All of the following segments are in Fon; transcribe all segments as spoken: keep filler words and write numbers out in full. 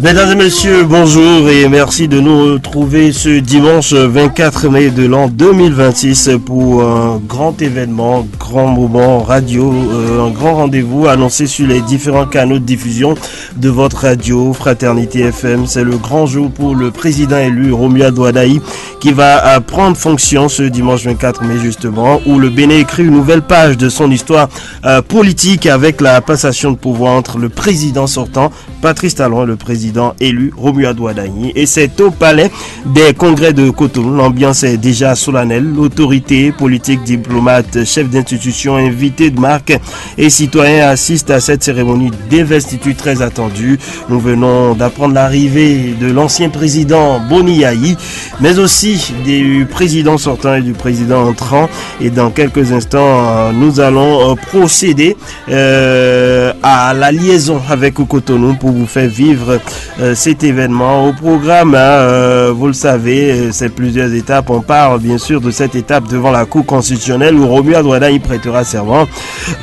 Mesdames et messieurs, bonjour et merci de nous retrouver ce dimanche vingt-quatre mai de l'an deux mille vingt-six pour un grand événement, grand moment radio, euh, un grand rendez-vous annoncé sur les différents canaux de diffusion de votre radio Fraternité F M. C'est le grand jour pour le président élu Romuald Wadagni qui va euh, prendre fonction ce dimanche vingt-quatre mai justement, où le Bénin écrit une nouvelle page de son histoire euh, politique avec la passation de pouvoir entre le président sortant Patrice Talon et le président élu Romuald Wadagni. Et c'est au palais des congrès de Cotonou. L'ambiance est déjà solennelle. L'autorité politique, diplomate, chef d'institution, invité de marque et citoyens assistent à cette cérémonie d'investiture très attendue. Nous venons d'apprendre l'arrivée de l'ancien président Boni Yayi, mais aussi du président sortant et du président entrant. Et dans quelques instants, euh, nous allons euh, procéder euh, à la liaison avec Cotonou pour vous faire vivre euh, cet événement. Au programme, hein, euh, vous le savez, euh, c'est plusieurs étapes. On parle bien sûr de cette étape devant la Cour constitutionnelle où Romuald Wadagni prêtera serment.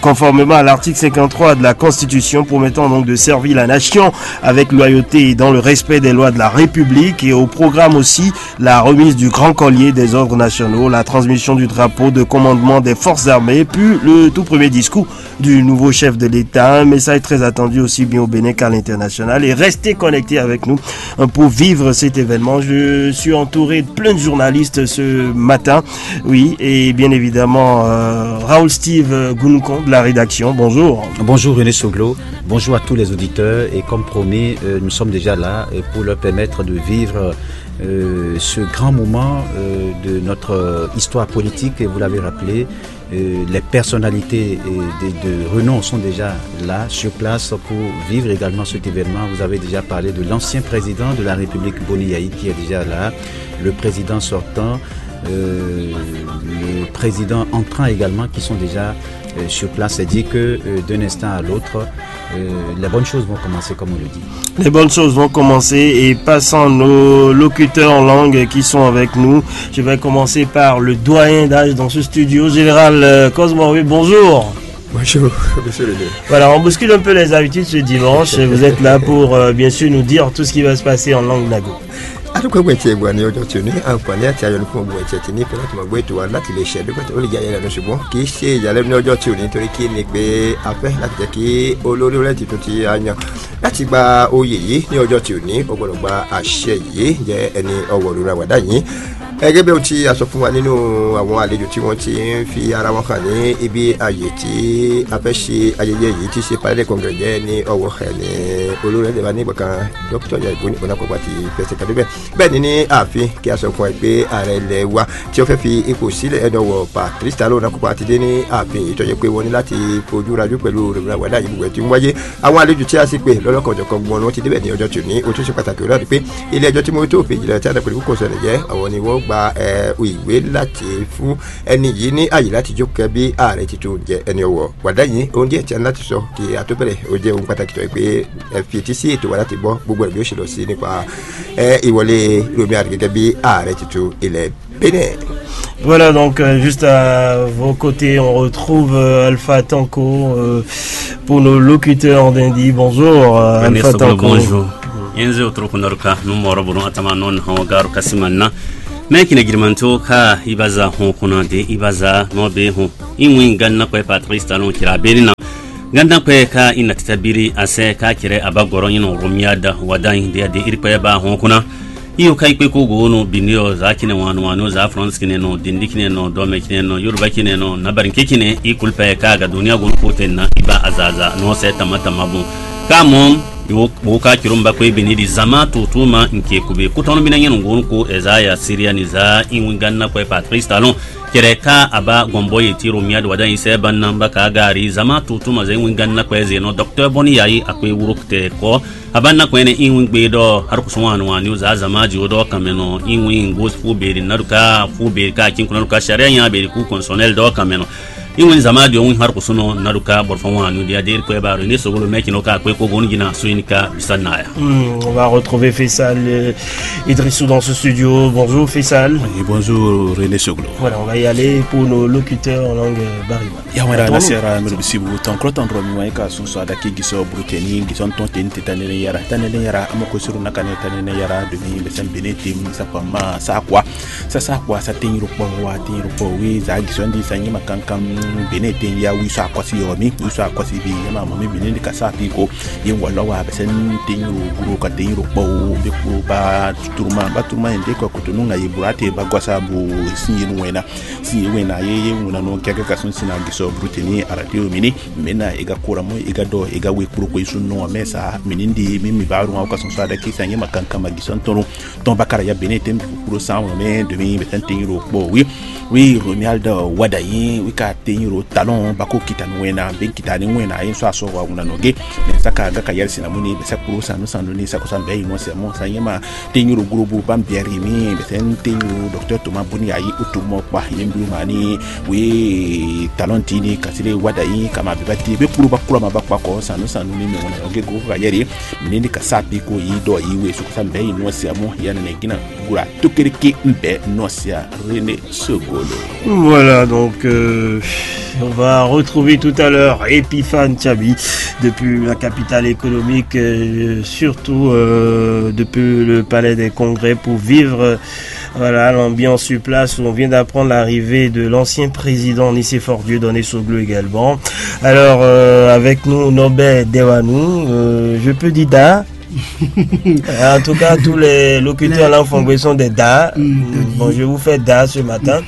Conformément à l'article cinquante-trois de la Constitution, promettant donc de servir la nation avec loyauté et dans le respect des lois de la République. Et au programme aussi, la remise du grand collier des ordres nationaux, la transmission du drapeau de commandement des forces armées, puis le tout premier discours du nouveau chef de l'État. Un message très attendu aussi bien au Bénin qu'à l'international. Et restez connectés avec nous euh, pour vivre cet événement. Je suis entouré de plein de journalistes ce matin. Oui, et bien évidemment, euh, Raoul Steve Gounoucon de la rédaction. Bonjour. Bonjour René Soglo, bonjour à tous les auditeurs et comme promis, euh, nous sommes déjà là euh, pour leur permettre de vivre euh, ce grand moment euh, de notre euh, histoire politique, et vous l'avez rappelé, euh, les personnalités euh, de, de renom sont déjà là, sur place, pour vivre également cet événement. Vous avez déjà parlé de l'ancien président de la République, Boni Yayi, qui est déjà là, le président sortant, euh, le président entrant également, qui sont déjà euh, sur place. C'est dit que euh, d'un instant à l'autre, euh, les bonnes choses vont commencer, comme on le dit. Les bonnes choses vont commencer et passant nos locuteurs en langue qui sont avec nous, je vais commencer par le doyen d'âge dans ce studio, Général euh, Cosmo. Oui, bonjour. Bonjour, monsieur le maire. Voilà, on bouscule un peu les habitudes ce dimanche. Vous êtes là pour, euh, bien sûr, nous dire tout ce qui va se passer en langue Nago. Adúgbò ẹgbẹ́ tí ẹ gbà ní ọjọ́ tí ò ní àǹfààní àti ayọ̀ ní fún ọgbọ̀n ẹ̀jẹ̀ tí ní fẹ́ láti máa gbọ́ ètò wa láti lè ṣe àdúgbò tó lè jẹ́ ayẹyẹ lọ́dún, ṣùgbọ́n kì í ṣe ìyàlẹ́nu ní ọjọ́ tí ò ní, torí kí ni pé a fẹ́ láti jẹ́ kí olórí orílẹ̀ tuntun tí a yàn láti gba oyè yìí ní ọjọ́ tí ò ní, ó gbọ́dọ̀ gba àṣẹ yìí, jẹ́ ẹni ọwọ́ lórí àwàdá yìí. Gẹ́gẹ́ bí ohun tí a sọ fún wa nínú àwọn àlejò tí wọ́n ti ń fi ara wọn hàn ní ibi àyè tí a fẹ́ ṣe ayẹyẹ yìí, tí ṣe palais de congrès jẹ́ ní ọwọ́ ẹni olórí ẹ̀dẹ̀ wa ní ìgbà kan, dókítà Yayi Boni Onakokwa ti fẹsẹ̀ kan débẹ̀. Bẹ́ẹ̀ ni ní ààfin, kí a sọ fún ẹ pé ààrẹ ilẹ̀ wa tí ó fẹ́ fi ipò sílẹ̀ ẹni ọwọ́ Patrice Talon Onakokwa ti dé ní ààfin yìí, tó jẹ́ pé wọ́n ní láti fojú rajú pẹ̀lú rògbòdìyàn wàhálà yìí gbogbo ẹ̀ tí ń wáyé. Àwọn àlejò tí a sì pè lọ́lọ́kan ọ̀jọ̀kan gbọ́n ni wọ́n ti débẹ̀ ní ọjọ́ tòní. Ó tún ṣe pàtàkì, ó náà ni pé ilé ẹjọ́ tí mo tó òfin ìjìnlẹ̀ tí a dàpọ̀ ìlú kò sọ̀rọ̀ jẹ́ àwọn ni wọ́n gba ìwé láti fún ẹni yìí ní àyè láti jókòó bí ààrẹ tuntun jẹ ẹni ọwọ́. Wàdá yìí, ohun díẹ̀ tí a ní láti sọ kí a tó bẹ̀rẹ̀, ó jẹ́ ohun pàtàkì tó yẹ pé ẹ fi etí sí ètò wa láti gbọ́ gbogbo ẹ̀ bí ó ṣe lọ sí nípa ìwọlé Romuald gẹ́gẹ́ bí ààrẹ tuntun ilẹ̀ Bénin. Voilà, donc euh, juste à vos côtés, on retrouve euh, Alpha Tanko euh, pour nos locuteurs d'Indi. Bonjour, euh, Alpha Tanko. Bonjour. Yenze uturuku naruka numoro bunu atama non hawa garu kasima na. Me kine girmanto ka ibaza ho kuna de ibaza no be ho. Inwi ganna kwe Patrice Talon kira beri na. Ganna kwe ka ina titabiri ase ka kire abagoro ino Romuald Wadagni de ade iri kwe ba ho kuna. Iyo ka ikpe ko go no bindi o za kine wanu wanu za France kine no dindi kine no dome kine no Yoruba kine no nabarin ke kine i kulpe ka ga dunia go no ko tenna iba azaza no se tama tama bu. Ka mom yo bo ka kirumba kwe bini di zama tutuma nke kube kutono bina nyenu go no ko ezaya Syria ni za inwi ganna kwe Patrice Talon. Kere ka aba gombo ye ti Romuald Wadagni se ban namba ka gari zama tutuma za inwi ganna kwe zeno docteur Boni Yayi akwe wuruk te ko. Abanna kwene inwi gbe dɔ har kusun wani wani uza zama ji o dɔ kameno inwi ngos fu beri naduka fu beri ka kin kuna duka sharia nya beri ku konsonel dɔ kameno. Iwin zama di ohun har kusuno naduka borfan wan nu dia dir kwe baro ne sogolo meki no ka kwe ko gonu jina suin ka bisa naya. Hmm, on va retrouver Faisal, euh, Idrissou dans ce studio. Bonjour Faisal. Et bonjour René Soglo. Voilà, on va y aller pour nos locuteurs en langue, euh, bariba. Ya wɛrɛ na sera mɛ bisi bu tɔn kɔrɔ tɔn dɔrɔn mi wa ka sun sɔ adaki gisɔ bruteni gisɔn tɔn teni te tanene yara tanene yara amɔ ko suru na kane tanene yara demi bɛsɛn bene tem sa pa ma sa kwa. Sasa kwa sa tenyiro kpɔ wa tenyiro kpɔ wi za gisɔn di sa nyima kankan. Bene ten ya wi sɔ akɔsi yɔ mi wi sɔ akɔsi bi yɛ ma mɔ mi bene di ka sa pi ko. Ye wɔ lɔ wa bɛsɛn tenyiro guro ka tenyiro kpɔ wo be kuro ba turuma ba turuma yɛn de kɔ kutunu ŋa ye bura te ba gɔsa bu sin ye nu wɛna. Sin ye wɛna ye ye wɛna nɔ kɛkɛ ka sun sina gisɔ bruteni arate o mini. Mena e ga kura mɔ e ga dɔ e ga we kuro ko isu nɔ mɛ sa mini di mi mi ba ru ŋa ka sun sa da ki sa nyima kankan ma gisɔn tɔnu. Tɔn bakara ya bene tem kuro san wɔn mɛ domi bɛtɛn tenyiro kpɔ wi. Wi Romuald Wadayi wi ka tenyiro talɔn bako kita ni wɛna ben kita ni wɛna yin sɔ asɔ wa wuna nɔ ge. Mɛ saka ga ka yɛrɛ sinamuni bɛ sɛ kuro sanu sanu ni sakosan bɛ yi nɔ sɛ mɔ sanyɛma tenyiro gurubu ban biɛri mi bɛ sɛ tenyiro docteur Thomas Boni ayi utu mɔ kpa yin bi ma ni wi talɔn ti ni kasile Wadayi kama bɛ ba di bɛ kuro ba kura ma ba kpa kɔ sanu sanu ni mɛ wuna nɔ ge go ka yɛrɛ. Mini ka sa pi ko yi dɔ yi we sakosan bɛ yi nɔ sɛ mɔ ya nɛ gina. Gura tokereke mbɛ nɔ sɛ René Sogolo. Voilà, donc, euh, on va retrouver tout à l'heure Epiphane Chabi depuis la capitale économique, euh, surtout, euh, depuis le palais des congrès pour vivre, euh, voilà, l'ambiance sur place où on vient d'apprendre l'arrivée de l'ancien président Nicéphore Dieudonné Soglo également. Alors, euh, avec nous, Norbert Dewanou, euh, je peux dire Da. En tout cas, tous les locuteurs là en Fongbe sont des Da. Mm, bon, je vous fais Da ce matin.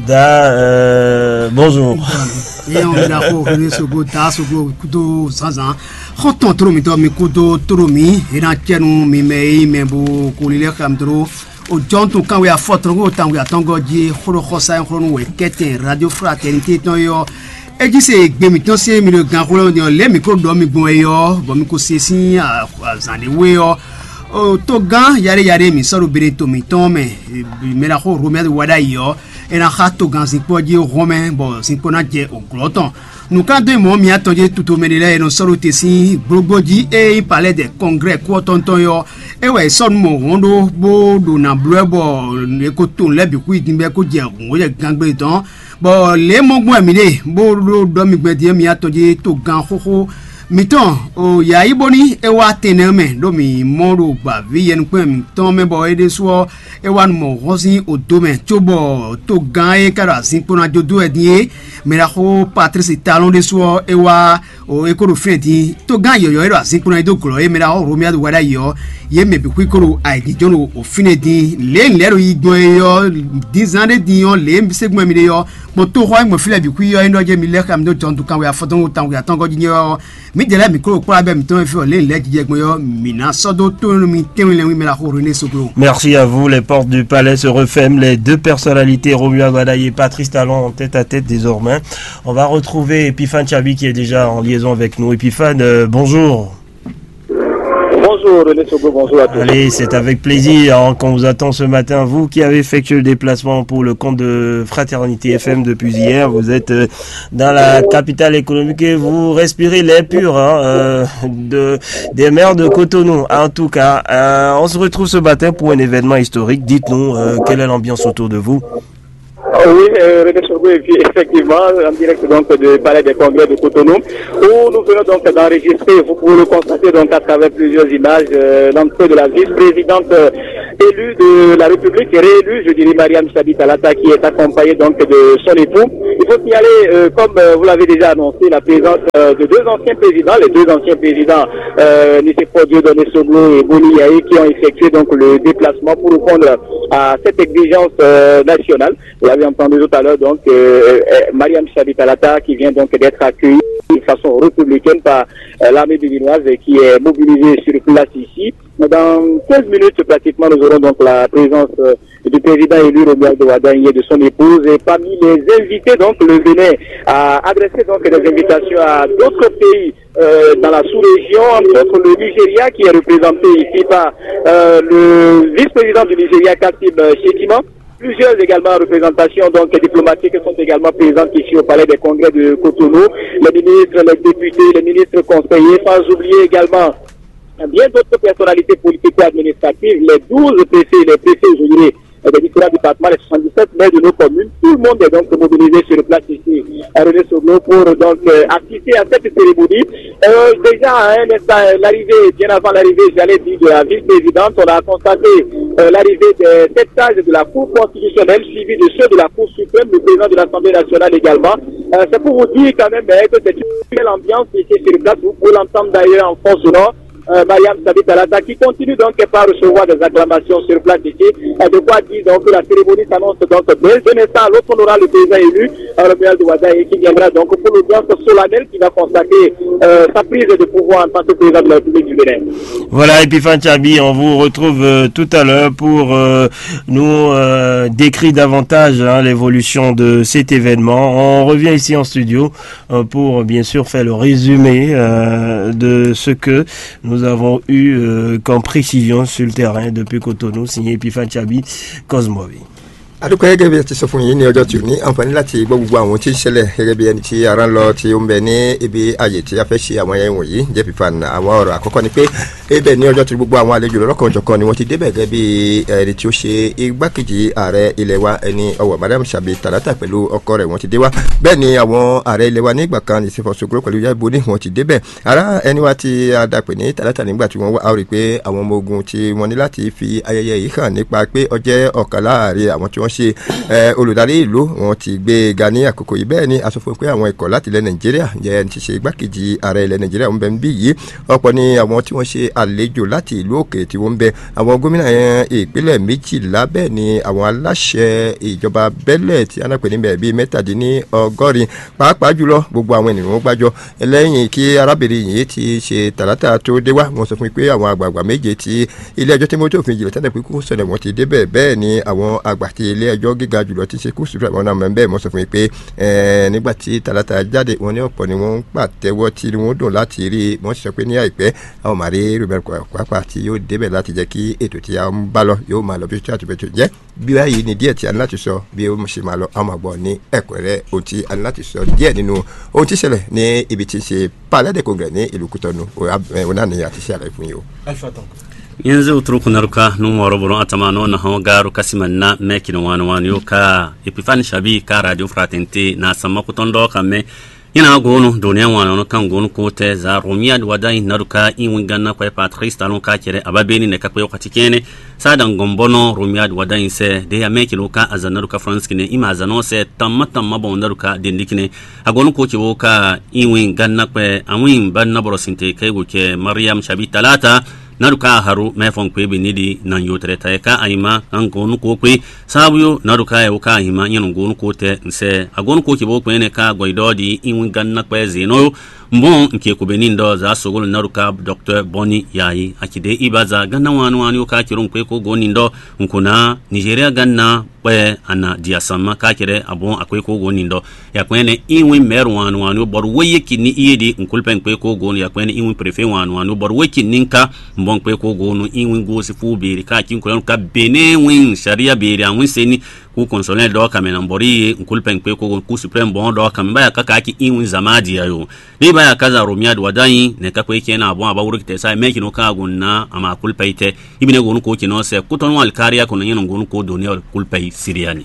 Da, euh, bonjour. Eyɛn ɔ́, mi ɖaxó René Soglo, Ta Soglo kúdó zǎnzǎn. Xɔ́ntɔn tló mitɔn mi kúdó tló mi, é ná cɛ́ nú mi mɛ e nyí mɛ bo ko lílɛ́ xá mi tló. O jɔ́n tun kanwe afɔtɔn kó tawun atɔngɔ́ jí xó ɖo xɔsá e xlɔ́ nú wɛ kɛ́tɛn Radio Fraternité tɔn é ɔ́, é jí se gbe mǐtɔn sín mi ɖo ganxó lɛ́ɛ ɔ́, lě mǐ ko ɖɔ mi gbɔn é ɔ́, bɔ mi ko se sín azǎn ɖé wú é ɔ́, togán yaɖé yaɖé mǐ sɔ́ ɖo beɖe to mǐtɔn mɛ, mɛ ɖaxó Romɛ́ wa ɖ'ayǐ ɔ́, é ná xá togán zinkpo ɔ́ jí hɔn mɛ, bɔ zinkpo ná jɛ òglɔ́ tɔn. Nǔkán dó mɔ̌ mǐ atɔn jí tutomɛ ɖé lɛ́ɛ e nɔ sɔ́ ɖo te sín gblogbó jí e nyí Palais des Congrès kú ɔ́ tɔn tɔn é ɔ́, é wɛ è sɔ́ nú mɔ hɔn ɖó bó ɖo nǎ bló ɛ bɔ è ko to nǔ lɛ́ɛ bǐ xwí din bɔ é ko jɛ hǔn jɛ gangbé tɔn, bɔ lě e mɔ gbɔn wɛ mǐ ɖe bó ɖó ɖɔ mi gbɛn din ɔ́, mǐ atɔn jí togán xóxó mǐtɔn o yǎ yí bóní é wá tɛnɛ mɛ ɖó mǐ mɔ ɖo gbǎví yɛnukpɛ́n mǐtɔn mɛ bɔ é ɖésú ɔ́, é wá nu mɔ hɔn sín odo mɛ cóbɔ togán e ka ɖo azinkpo ná jó dó wɛ din é, mɛ ɖaxó Patlísi Talɔn ɖésú ɔ́, é wá o é ko ɖo fínɛ́ din. Togán yɔ̌yɔ́ e ɖo azinkpo ná yi dó glɔ̌ é mɛ ɖaxó Romuald wa ɖ'ayǐ ɔ́, yě mɛ bǐ xwí ko ɖo ayǐjínjɔ́n ɖo o fínɛ́ din. Lě e lɛ̌ ɖo yi gbɔn é ɔ́, dǐnzán ɖé din ɔ́, lě e ségbɔn mi ɖe ɔ́, kpɔn tóxɔ e gbɔn fí lɛ́ɛ bǐ xwí ɔ́, é nɔ jɛ mi lɛ́ xá mi dó jɔndu kanwe afɔtɔn wo tanwe atɔngɔ́ jí nyɛ ɔ́, mǐ jɛ lɛ́ mǐ klo kplá bɛ́ mǐtɔn e fí ɔ́ lě lɛ́ jijɛ gbɔn ɔ́, mǐ ná sɔ́ dó tónú mi tɛ́nwe lɛ́nwí mɛ ɖaxó René Soglo. Merci à vous. Les portes du palais se referment. Les deux personnalités, Romuald Wadayi et Patrice Talon, en tête à tête désormais. On va retrouver Epiphane Chabi qui est déjà en liaison avec nous. Epiphane, euh, bonjour. Bonjour René Soglo, bonjour à tous. Allez, c'est avec plaisir, hein, qu'on vous attend ce matin. Vous qui avez effectué le déplacement pour le compte de Fraternité F M depuis hier, vous êtes, euh, dans la capitale économique et vous respirez l'air pur, hein, euh, de, des mers de Cotonou. En tout cas, euh, on se retrouve ce matin pour un événement historique. Dites-nous, euh, quelle est l'ambiance autour de vous ? Ah oui, euh, René Soglo, et puis effectivement, en direct donc du Palais des Congrès de Cotonou, où nous venons donc d'enregistrer, vous pouvez le constater donc à travers plusieurs images, euh, l'entrée de la vice-présidente, euh, élue de la République, réélue, je dirais, Mariam Chabi Talata, qui est accompagnée donc de son époux. Il faut signaler, euh, comme, euh, vous l'avez déjà annoncé, la présence, euh, de deux anciens présidents, les deux anciens présidents, euh, Nicéphore Dieudonné Soglo et Boni Yayi, qui ont effectué donc le déplacement pour répondre à cette exigence, euh, nationale. Vous l'avez entendu tout à l'heure, donc, euh, euh, Mariam Chabi Talata qui vient donc d'être accueillie de façon républicaine par, euh, l'armée béninoise et qui est mobilisée sur place ici. Dans quinze minutes, pratiquement, nous aurons donc la présence, euh, du président élu Romuald Wadayi et de son épouse. Et parmi les invités, donc, le Bénin a adressé donc des invitations à d'autres pays, euh, dans la sous-région, entre autres le Nigeria qui est représenté ici par, euh, le vice-président du Nigeria, Kassim, euh, Shettima. Plusieurs également représentations donc diplomatiques sont également présentes ici au palais des congrès de Cotonou. Les ministres, les députés, les ministres conseillers, sans oublier également bien d'autres personnalités politico-administratives, les douze préfets, les préfets aujourd'hui des différents départements, les soixante-dix-sept maires de nos communes. Tout le monde est donc mobilisé sur place ici à René Soglo pour donc euh, assister à cette cérémonie. Euh, déjà à un instant, euh, l'arrivée, bien avant l'arrivée, j'allais dire, de la vice-présidente, on a constaté euh, l'arrivée des sept sages de la Cour constitutionnelle, suivis de ceux de la Cour suprême, le président de l'Assemblée nationale également. Euh, c'est pour vous dire quand même euh, que c'est une belle ambiance ici sur place. Vous pouvez l'entendre d'ailleurs en fond sonore. Euh, Mariam Sabi Talata, qui continue donc par recevoir des acclamations sur place ici. Et de quoi dire donc que la cérémonie s'annonce donc dès un instant à l'autre honorable président élu, euh, Romuald Wadagni, qui viendra donc pour l'audience solennelle qui va constater euh, sa prise de pouvoir en tant que président de la République du Bénin. Voilà, Epiphane Chabi, on vous retrouve euh, tout à l'heure pour euh, nous euh, décrire davantage hein, l'évolution de cet événement. On revient ici en studio euh, pour bien sûr faire le résumé euh, de ce que nous avons eu euh, comme précision sur le terrain depuis Cotonou, signé Epiphane Chabi, Cosmovi. Adúpẹ́ gẹ́gẹ́ bí ẹ ti sọ fún yín ní ọjọ́ tí ò ní àǹfààní láti gbọ́ gbogbo àwọn tí ń ṣẹlẹ̀ gẹ́gẹ́ bí ẹni tí ara ń lọ tí ó ń bẹ ní ibi ààyè tí a fẹ́ ṣe àwọn ayẹyẹ wọ̀nyí jẹ́ fífa àwọn ọ̀rọ̀ àkọ́kọ́ ni pé ibẹ̀ ní ọjọ́ tí gbogbo àwọn àlejò lọ́lọ́kan òjọ̀kan ni wọ́n ti débẹ̀ gẹ́gẹ́ bí ẹni tí ó ṣe igbákejì ààrẹ ilẹ̀ wa ẹni ọwọ́ Mariam Sabi Talata pẹ̀lú ọkọ rẹ̀ wọ́n ti dé wá. Bẹ́ẹ̀ ni àwọn ààrẹ ilẹ̀ wa nígbà kan ní Sefo Soglo pẹ̀lú Yabo ní wọ́n ti débẹ̀. Ara ẹni wa tí a dàpè ní Talata nígbà tí wọ́n wá a ó rí i pé àwọn ọmọ ogun tí wọ́n ní láti fi ayẹyẹ yìí hàn nípa pé ó jẹ́ ọ̀kan láàrin àwọn tí wọ́n ṣe olùdarí ìlú wọn ti gbé e ga ní àkókò yìí. Bẹ́ẹ̀ ni a sọ fún un pé àwọn ikọ̀ láti ilẹ̀ Nàìjíríà jẹ́ ẹni tí ṣe igbákejì ààrẹ ilẹ̀ Nàìjíríà ń bẹ níbí yìí. Ọ̀pọ̀ ni àwọn tí wọ́n ṣe àlejò láti ìlú òkè tí wọ́n ń bẹ. Àwọn gómìnà ìpínlẹ̀ méjìlá, bẹ́ẹ̀ ni àwọn aláṣẹ ìjọba bẹ́lẹ̀ tí a náà pè ní bẹ́ẹ̀ bíi mẹ́tàdínlọ́gọ́rin, pàápàá jùlọ gbogbo àwọn ènìyàn wọn gbájọ. Lẹ́yìn kí arábìnrin yìí ti ṣe Talata tó dé wá, wọ́n sọ fún mi pé àwọn àgbààgbà méje tí ilé ẹjọ́ tí mójú òfin jìnlẹ̀ tẹ́lẹ̀ pé kó sọ̀rọ̀ wọn ti débẹ̀. Bẹ́ẹ̀ ni àwọn àgbà tí ilé ẹjọ́ gíga jùlọ ti ṣe kú sùpúrà wọn náà mọ̀ bẹ́ẹ̀, wọ́n sọ fún mi pé nígbà tí Talata jáde, wọ́n ní ọ̀pọ̀ ni wọ́n ń pàtẹ́wọ́ tí wọ́n dùn láti rí i. Wọ́n sì sọ pé ní àìpẹ́ àwọn máa rí Robert Kwakwa tí yóò débẹ̀ láti jẹ́ kí ètò tí a ń bá lọ yóò máa lọ bí ó ti àti bẹ́ẹ̀ tó jẹ́. Bí báyìí ni díẹ̀ tí a ní láti sọ bí ó ṣe máa lọ, a máa gbọ́ ní ẹ̀kúnrẹ́rẹ́ ohun tí a ní láti sọ díẹ̀ nínú ohun tí ṣẹlẹ̀ ní ibi tí ń ṣe Palais de Congrès ní ìlú Kútọ́nù. Òun náà ni a ti ṣe àlàyé fún yín o. Yenze uturuku naruka nu mɔrɔ bolo atama no na hɔn garu kasima na mɛ kino wani wani yo ka Epifani Shabi ka Radio Fraternité na sama kutɔndɔ ka mɛ. Ina gonu dunia wana no kan gonu ko te za Romiad wadai naruka in winganna kwe Patrice talon ka kere ababeni ne kakwe wakati kene. Sa dan gombono Romiad wadai se de ya meki no ka aza naruka France kine ima aza no se tamma tamma bon naruka dindikine. Agonu ko kibo ka in winganna kwe awin banna boro sinte kai go ke Mariam Shabi Talata. Naruka haru me fon kwe binidi nan yotre tae ka aima an gonu ko kwe. Sabu yo naruka e uka aima nyanu gonu ko te nse. Agonu ko kibo kwe ne ka goidodi in winganna kwe zeno yo. Mbon nke kubeni ndo za sogolo naruka Docteur Boni yayi akide ibaza ganna wani wani uka kirun kwe ko goni ndo nkuna Nigeria ganna kwe ana diasama kakere abon akwe ko goni ndo. Yakwene iwin maire wani wani bor weye kini iyedi nkulpen kwe ko goni yakwene iwin préfet wani wani bor we kini nka mbon kwe ko gonu iwin gosi fu biri ka kin ko ka bene win sharia biri awin seni ku konsolen do kamena mbori ye nkulpen kwe ko gonu ku supreme bon do kamena ya kaka ki iwin zamadi ayo. Ni ba ya kaza Romiad wadai ne ka kwe kena bon aba wuri kite sa me kino ka gonna ama kulpa ite. Ibine gonu ko kino se kuton wal kariya kono yeno gonu ko doni wal kulpa siriani.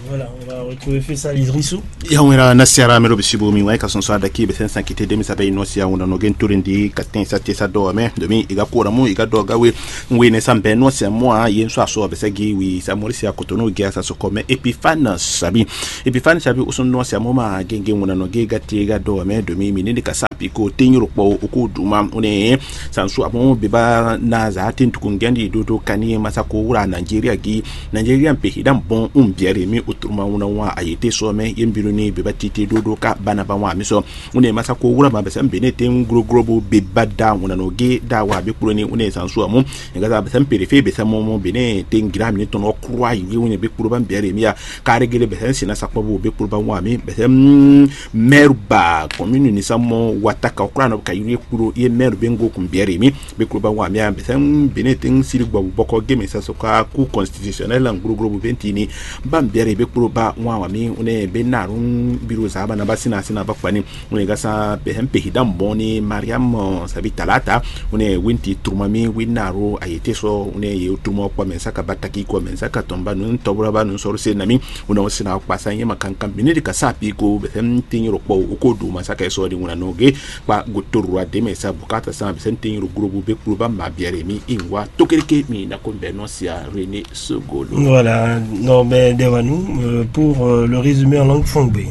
Voilà, on va retrouver Faisal Idrissou. Yawera na siara mero bisibu mi wai ka sonso adaki be sen sankite demi sabe ino sia wona no gen turin di katin sa tesa do me domi iga kora mu iga do gawe. Ngwe ne sambe no sia mo a yen so aso be segi wi sa mori sia kotono ge sa so kome Epifane Sabi. Epifane Sabi usun no sia mo ma genge wona no ge gati ga do me domi mi ni ka sa piko tin ro po uku duma une. Sansu amo beba na za tin tukun gendi do to kani masako wura Nigeria gi. Nigeria pe hidan bon un biere mi Truma ŋuna wan ayete sɔ mɛ ye mbi ni beba titi ɖoɖo ka bana ba wan mi sɔ. Une masa ko wura ma bɛsɛ bene te ŋu gloglo bo be ba da ŋuna no ge da wa be kplo ni une san sɔ mu. Nga sa bɛsɛ pere fe bɛsɛ mɔ mɔ bene te ŋu gira mi tɔn kura yi une be kplo ba bɛrɛ mi ya. Kare gele bɛsɛ sina sakpɔ bo be kplo ba wan mi bɛsɛ mɛru ba kɔminu ni sa mɔ wata ka kura nɔ ka yi kplo ye mɛru be ŋgo kun bɛrɛ mi. Be kplo ba wan mi ya bɛsɛ bene te ŋu siri gbɔ bɔkɔ ge mi sa sɔ ka ku constitutionnel ŋu gloglo bo venti ni. Ba bɛrɛ be kplo ba wan wa mi une be na ru biro za ba na ba sina sina ba kpani. Une ga sa be hem pe hidam bon ni Mariam sabi talata. Une winti truma mi wi na ru ayete so une ye truma kpa men saka ba taki ko men saka tomba nun tobra ba nun sor se nami. Une o sina kpa sa yema kankan bini de ka sa pi ko be hem tin ro kpo o ko du ma saka so di una no ge kpa go toru a de me sa bukata sa be sem tin ro grubu be kplo ba ma bɛrɛ mi in wa tokereke mi na ko be no sia rene sogolo. Voilà, Norbert Devanou, euh, pour euh, le résumé en langue fongbe.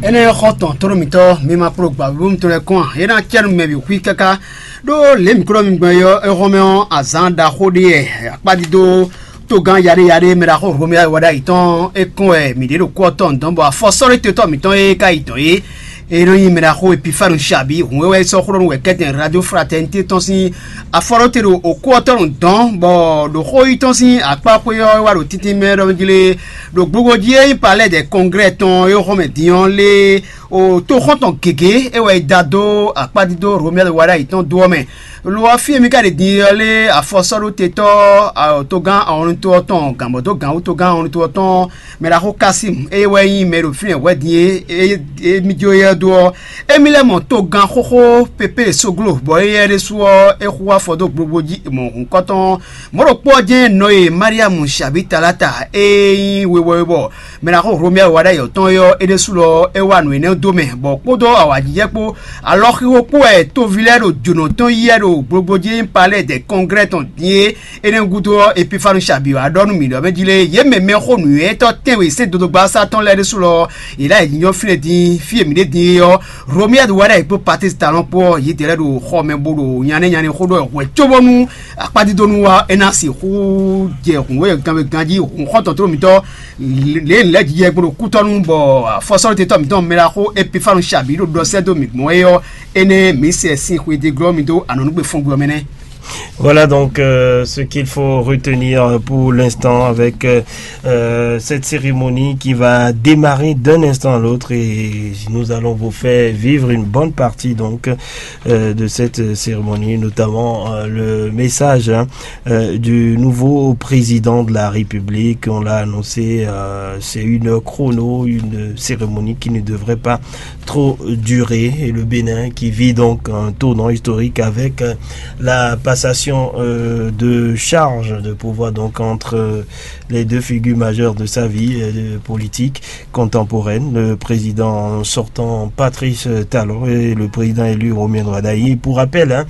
Énɛ́ xɔ tɔn tónú mitɔ́ mi ma kpló gbǎ búbú mitɔn lɛ́ɛ kɔn a é ná cɛ́ nú mɛ bǐ xwí káká. Ɖó lě mǐ kplɔ́ mi gbɔn é ɔ́, é hɔn mɛ ɔ́, azǎn ɖaxó ɖé wɛ akpádídó togán yaɖéyaɖé mɛ ɖaxó Romia wɛ ɖ'ayǐ tɔn é kɔn wɛ mǐ ɖě ɖo kú ɔ́ tɔn dɔn bɔ afɔsɔ́ɖótetɔ́ mǐtɔn e ka yi dɔ̌n é é nɔ nyi mɛ ɖaxó Epifanu Shabi hun e wɛ é sɔ́ xlɔ́ nú wɛ kɛ́tɛn Radio Fraternité tɔn sín afɔɖóte ɖo okú ɔ́ tɔn dɔn bɔ ɖo xó yi tɔn sín akpá xwé ɔ́ é wá ɖo tíntín mɛ ɖɔ jlé ɖo gbogbo jí é nyí palais des congrès tɔn é xɔmɛ din ɔ́ lé o tóxɔ́ntɔn gěgé é wɛ é da dó akpádídó Romia wɛ ɖ'ayǐ tɔn dó ɔ́ mɛ. Lo ɔ́, fí e mì ka ɖe din ɔ́ lé afɔsɔ́ɖótetɔ́ togán awɔnutó ɔ́ tɔn gǎnbɔ́dó gǎnwútogán awɔnutó ɔ́ tɔn mɛ ɖaxó Kasim, eye wɛ nyí mɛ ɖo fínɛ́ hwɛ̌ din e mì jó éyɛ́ dó ɔ́, émí lɛ́ mɔ togán xóxó Pépé Soglo, bɔ éyɛ́ ɖésú ɔ́, é xú afɔ dó gbogbo jí mɔ hǔnkɔtɔn mɔ̌ ɖokpó ɔ́ jɛ́n nɔ e Mariamu Shabi Talata e nyí wewɔwebɔ mɛ ɖaxó Romia wɛ ɖ'ayǐ tɔn é ɔ́, é ɖésú lɔ é wa nǔ énɛ́ dó mɛ, bɔ kpódó awǎjijɛ kpó alɔxixo kpó wɛ toví lɛ́ɛ ɖo jǒnɔ tɔn yí wɛ ɖo gbogbo jí nyí palais des congrès tɔn din é. Énɛ́ gúdo ɔ́, Epifanu Shabi wá ɖɔ nú mǐ ɖɔ mɛ jí lé, yě mɛ mɛxó nǔnywɛ́tɔ́ tɛ́nwe sɛ́n dodogba ɔ́ sá tɔn lɛ́ɛ ɖésú lɔ, yě ná yi nyɔ fínɛ́ din fí e mǐ ɖe din é ɔ́, Romia wɛ ɖ'ayǐ kpó Patísi Talɔn kpó ɔ́, yědɛɛ lɛ́ɛ ɖo xɔ mɛ bo ɖo nyané nyané xó ɖɔ hwɛ̌ cóbónú akpádídó nú wá é ná sixú jɛ hǔnwéganwégan jí hǔnxɔ́ntɔn tló mitɔ́ lě lɛ̌ jijɛ gbo ɖo kútɔ́nú bɔ afɔsɔ́lótetɔ́ mǐtɔn mɛ ɖaxó Epifanu Shabi ɖo ɖɔ sɛ́ dó mǐ gbɔn é ɔ́, énɛ́ mǐ sɛ sín xwedéglɔ́ mì dó anɔ̌nugbe fɔ́ngbí ɔ́ mɛ nɛ́. Voilà donc euh, ce qu'il faut retenir pour l'instant avec euh, euh, cette cérémonie qui va démarrer d'un instant à l'autre et nous allons vous faire vivre une bonne partie donc euh, de cette cérémonie, notamment euh, le message hein, euh, du nouveau président de la République. On l'a annoncé, euh, c'est une chrono, une cérémonie qui ne devrait pas trop durer. Et le Bénin qui vit donc un tournant historique avec euh, la passation euh, de charge de pouvoir donc entre euh, les deux figures majeures de sa vie euh, politique contemporaine, le président sortant Patrice Talon et le président élu Romuald Wadagni. Pour rappel, hein,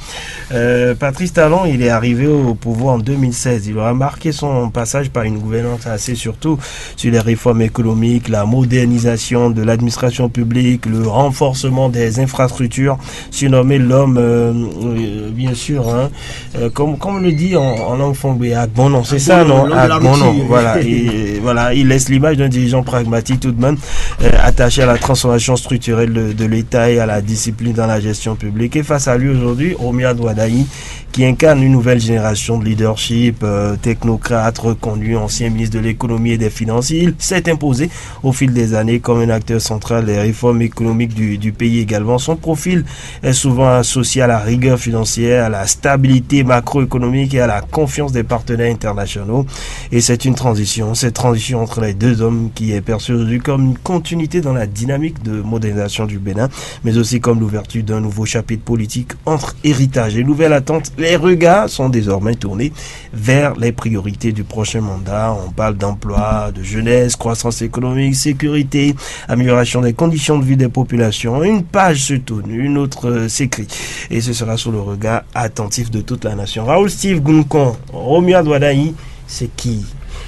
euh, Patrice Talon, il est arrivé au pouvoir en deux mille seize. Il aura marqué son passage par une gouvernance axée surtout sur les réformes économiques, la modernisation de l'administration publique, le renforcement des infrastructures, surnommé l'homme, euh, euh, bien sûr, hein, euh, comme, comme on le dit en, en langue fongbe, à bon nom, c'est ça, non? À bon nom, voilà. Et, voilà, il laisse l'image d'un dirigeant pragmatique tout de même, euh, attaché à la transformation structurelle de, de l'État et à la discipline dans la gestion publique. Et face à lui aujourd'hui, Romuald Wadagni, qui incarne une nouvelle génération de leadership, euh, technocrate, reconnu, ancien ministre de l'économie et des finances. Il s'est imposé au fil des années comme un acteur central des réformes économiques du, du pays également. Son profil est souvent associé à la rigueur financière, à la stabilité macroéconomique et à la confiance des partenaires internationaux. Et c'est une transition, cette transition entre les deux hommes qui est perçue aujourd'hui comme une continuité dans la dynamique de modernisation du Bénin, mais aussi comme l'ouverture d'un nouveau chapitre politique entre héritage et nouvelle attente. Les regards sont désormais tournés vers les priorités du prochain mandat. On parle d'emploi, de jeunesse, croissance économique, sécurité, amélioration des conditions de vie des populations. Une page se tourne, une autre euh, s'écrit. Et ce sera sous le regard attentif de toute la nation. Raoul Steve Gunkon, Romuald Wadagni, c'est qui?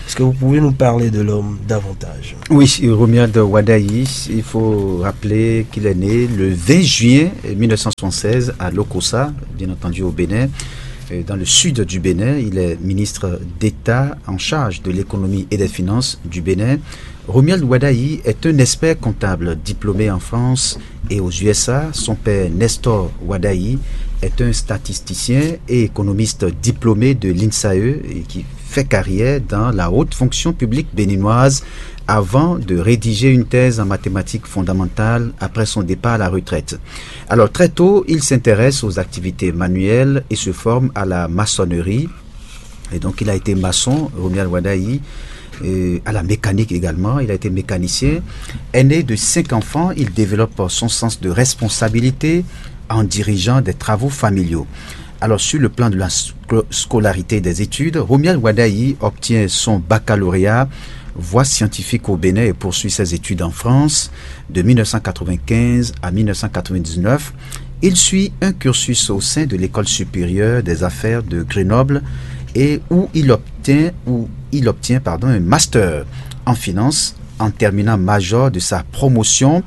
Est-ce que vous pouvez nous parler de l'homme davantage? Oui, Romuald Wadagni, il faut rappeler qu'il est né le vingt juin mille neuf cent soixante-seize à Lokossa, bien entendu au Bénin. euh, dans le sud du Bénin. Il est ministre d'État en charge de l'économie et des finances du Bénin. Romuald Wadagni est un expert comptable diplômé en France et aux U S A. Son père, Nestor Wadagni, est un statisticien et économiste diplômé de l'INSAE et qui fait carrière dans la haute fonction publique béninoise avant de rédiger une thèse en mathématiques fondamentales après son départ à la retraite. Alors, très tôt, il s'intéresse aux activités manuelles et se forme à la maçonnerie. Et donc, il a été maçon, Romuald Wadagni, euh, à la mécanique également. Il a été mécanicien. Aîné de cinq enfants, il développe son sens de responsabilité en dirigeant des travaux familiaux. Alors, sur le plan de la sco-, scolarité des études, Romuald Wadagni obtient son baccalauréat voie scientifique au Bénin et poursuit ses études en France de mille neuf cent quatre-vingt-quinze à mille neuf cent quatre-vingt-dix-neuf. Il suit un cursus au sein de l'École supérieure des affaires de Grenoble et où il obtient, où il obtient, pardon, un master en finance en terminant major de sa promotion.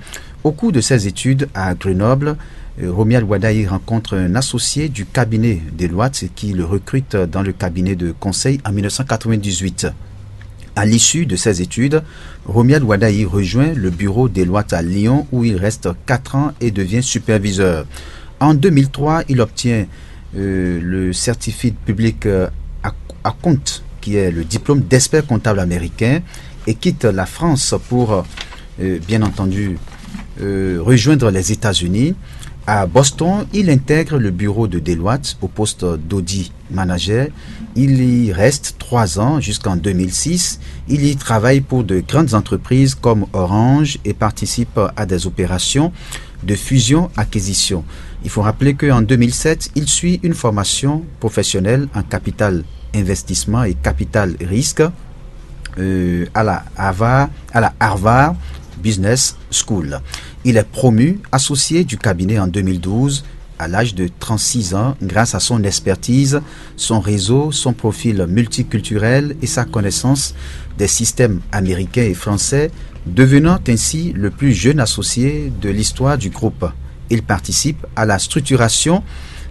Au cours de ses études à Grenoble, euh, Romuald Wadagni rencontre un associé du cabinet Deloitte qui le recrute dans le cabinet de conseil en mille neuf cent quatre-vingt-dix-huit. À l'issue de ses études, Romuald Wadagni rejoint le bureau Deloitte à Lyon où il reste quatre ans et devient superviseur. En deux mille trois, il obtient, euh, le certificat public, euh, à, à compte, qui est le diplôme d'expert comptable américain, et quitte la France pour, euh, bien entendu, euh, rejoindre les États-Unis. À Boston, il intègre le bureau de Deloitte au poste d'audit manager. Il y reste trois ans jusqu'en deux mille six. Il y travaille pour de grandes entreprises comme Orange et participe à des opérations de fusion-acquisition. Il faut rappeler qu'en deux mille sept, il suit une formation professionnelle en capital investissement et capital risque, euh, à la Harvard, à la Harvard Business School. Il est promu associé du cabinet en deux mille douze à l'âge de trente-six ans grâce à son expertise, son réseau, son profil multiculturel et sa connaissance des systèmes américains et français, devenant ainsi le plus jeune associé de l'histoire du groupe. Il participe à la structuration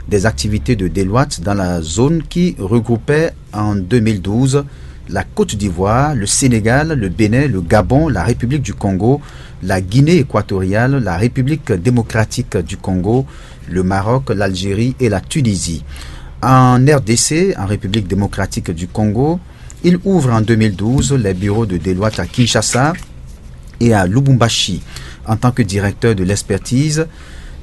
des activités de Deloitte dans la zone qui regroupait en deux mille douze la Côte d'Ivoire, le Sénégal, le Bénin, le Gabon, la République du Congo, la Guinée équatoriale, la République démocratique du Congo, le Maroc, l'Algérie et la Tunisie. En R D C, en République démocratique du Congo, il ouvre en deux mille douze les bureaux de Deloitte à Kinshasa et à Lubumbashi. En tant que directeur de l'expertise,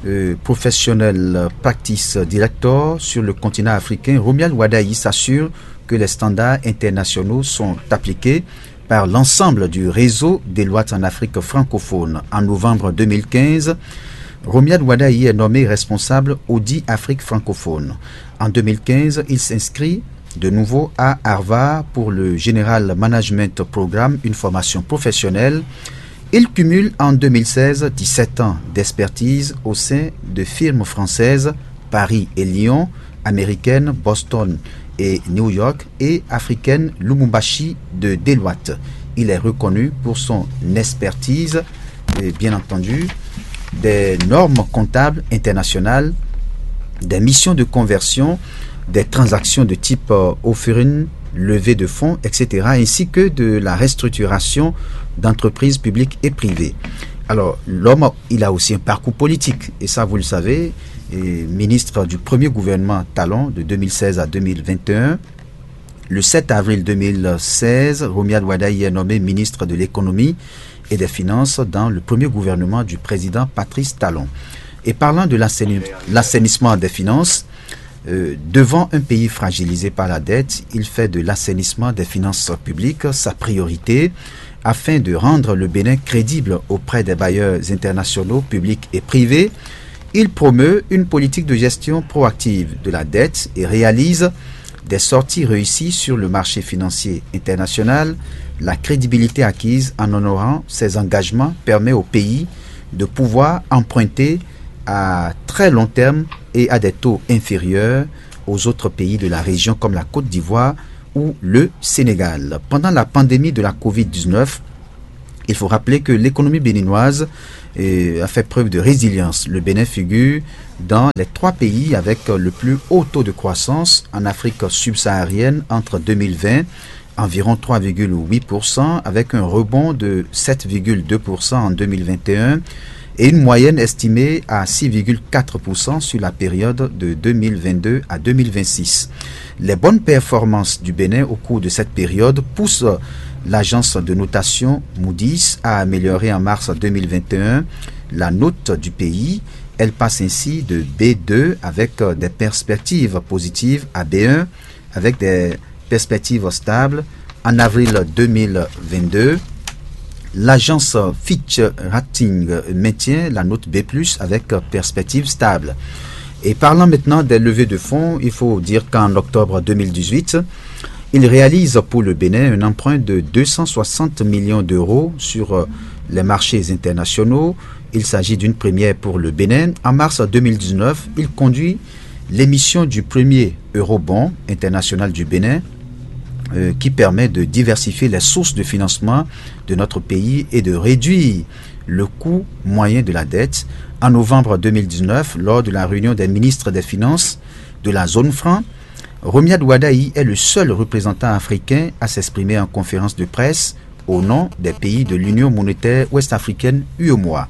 euh, professionnel practice director sur le continent africain, Romuald Wadagni s'assure que les standards internationaux sont appliqués par l'ensemble du réseau Deloitte en Afrique francophone. En novembre deux mille quinze, Romuald Wadagni est nommé responsable Audit Afrique francophone. En deux mille quinze, il s'inscrit de nouveau à Harvard pour le General Management Programme, une formation professionnelle. Il cumule en deux mille seize dix-sept ans d'expertise au sein de firmes françaises, Paris et Lyon, américaines, Boston et New York, et africaines, Lubumbashi de Deloitte. Il est reconnu pour son expertise et, bien entendu, des normes comptables internationales, des missions de conversion, des transactions de type, euh, offering, levée de fonds, et cetera, ainsi que de la restructuration d'entreprises publiques et privées. Alors, l'homme, il a aussi un parcours politique, et ça, vous le savez, et ministre du premier gouvernement Talon de deux mille seize à deux mille vingt et un. Le sept avril deux mille seize, Romuald Wadagni est nommé ministre de l'économie et des finances dans le premier gouvernement du président Patrice Talon. Et parlant de l'assaini-, l'assainissement des finances, euh, devant un pays fragilisé par la dette, il fait de l'assainissement des finances publiques sa priorité afin de rendre le Bénin crédible auprès des bailleurs internationaux, publics et privés. Il promeut une politique de gestion proactive de la dette et réalise des sorties réussies sur le marché financier international. La crédibilité acquise en honorant ses engagements permet au pays de pouvoir emprunter à très long terme et à des taux inférieurs aux autres pays de la région comme la Côte d'Ivoire ou le Sénégal. Pendant la pandémie de la covid dix-neuf, Il faut rappeler que l'économie béninoise, euh, a fait preuve de résilience. Le Bénin figure dans les trois pays avec le plus haut taux de croissance en Afrique subsaharienne entre deux mille vingt, environ trois virgule huit pour cent, avec un rebond de sept virgule deux pour cent en deux mille vingt et un et une moyenne estimée à six virgule quatre pour cent sur la période de deux mille vingt-deux à deux mille vingt-six. Les bonnes performances du Bénin au cours de cette période poussent l'agence de notation Moody's à améliorer en mars deux mille vingt et un la note du pays. Elle passe ainsi de B deux avec, euh, des perspectives positives à B un avec des perspectives stables. En avril deux mille vingt-deux, l'agence Fitch Rating maintient la note B plus avec perspective stable. Et parlant maintenant des levées de fonds, il faut dire qu'en octobre deux mille dix-huit, il réalise pour le Bénin un emprunt de deux cent soixante millions d'euros sur, euh, les marchés internationaux. Il s'agit d'une première pour le Bénin. En mars deux mille dix-neuf, il conduit l'émission du premier eurobond international du Bénin, euh, qui permet de diversifier les sources de financement de notre pays et de réduire le coût moyen de la dette. En novembre deux mille dix-neuf, lors de la réunion des ministres des Finances de la zone franc, Romuald Wadagni est le seul représentant africain à s'exprimer en conférence de presse au nom des pays de l'Union monétaire ouest-africaine, U E M O A.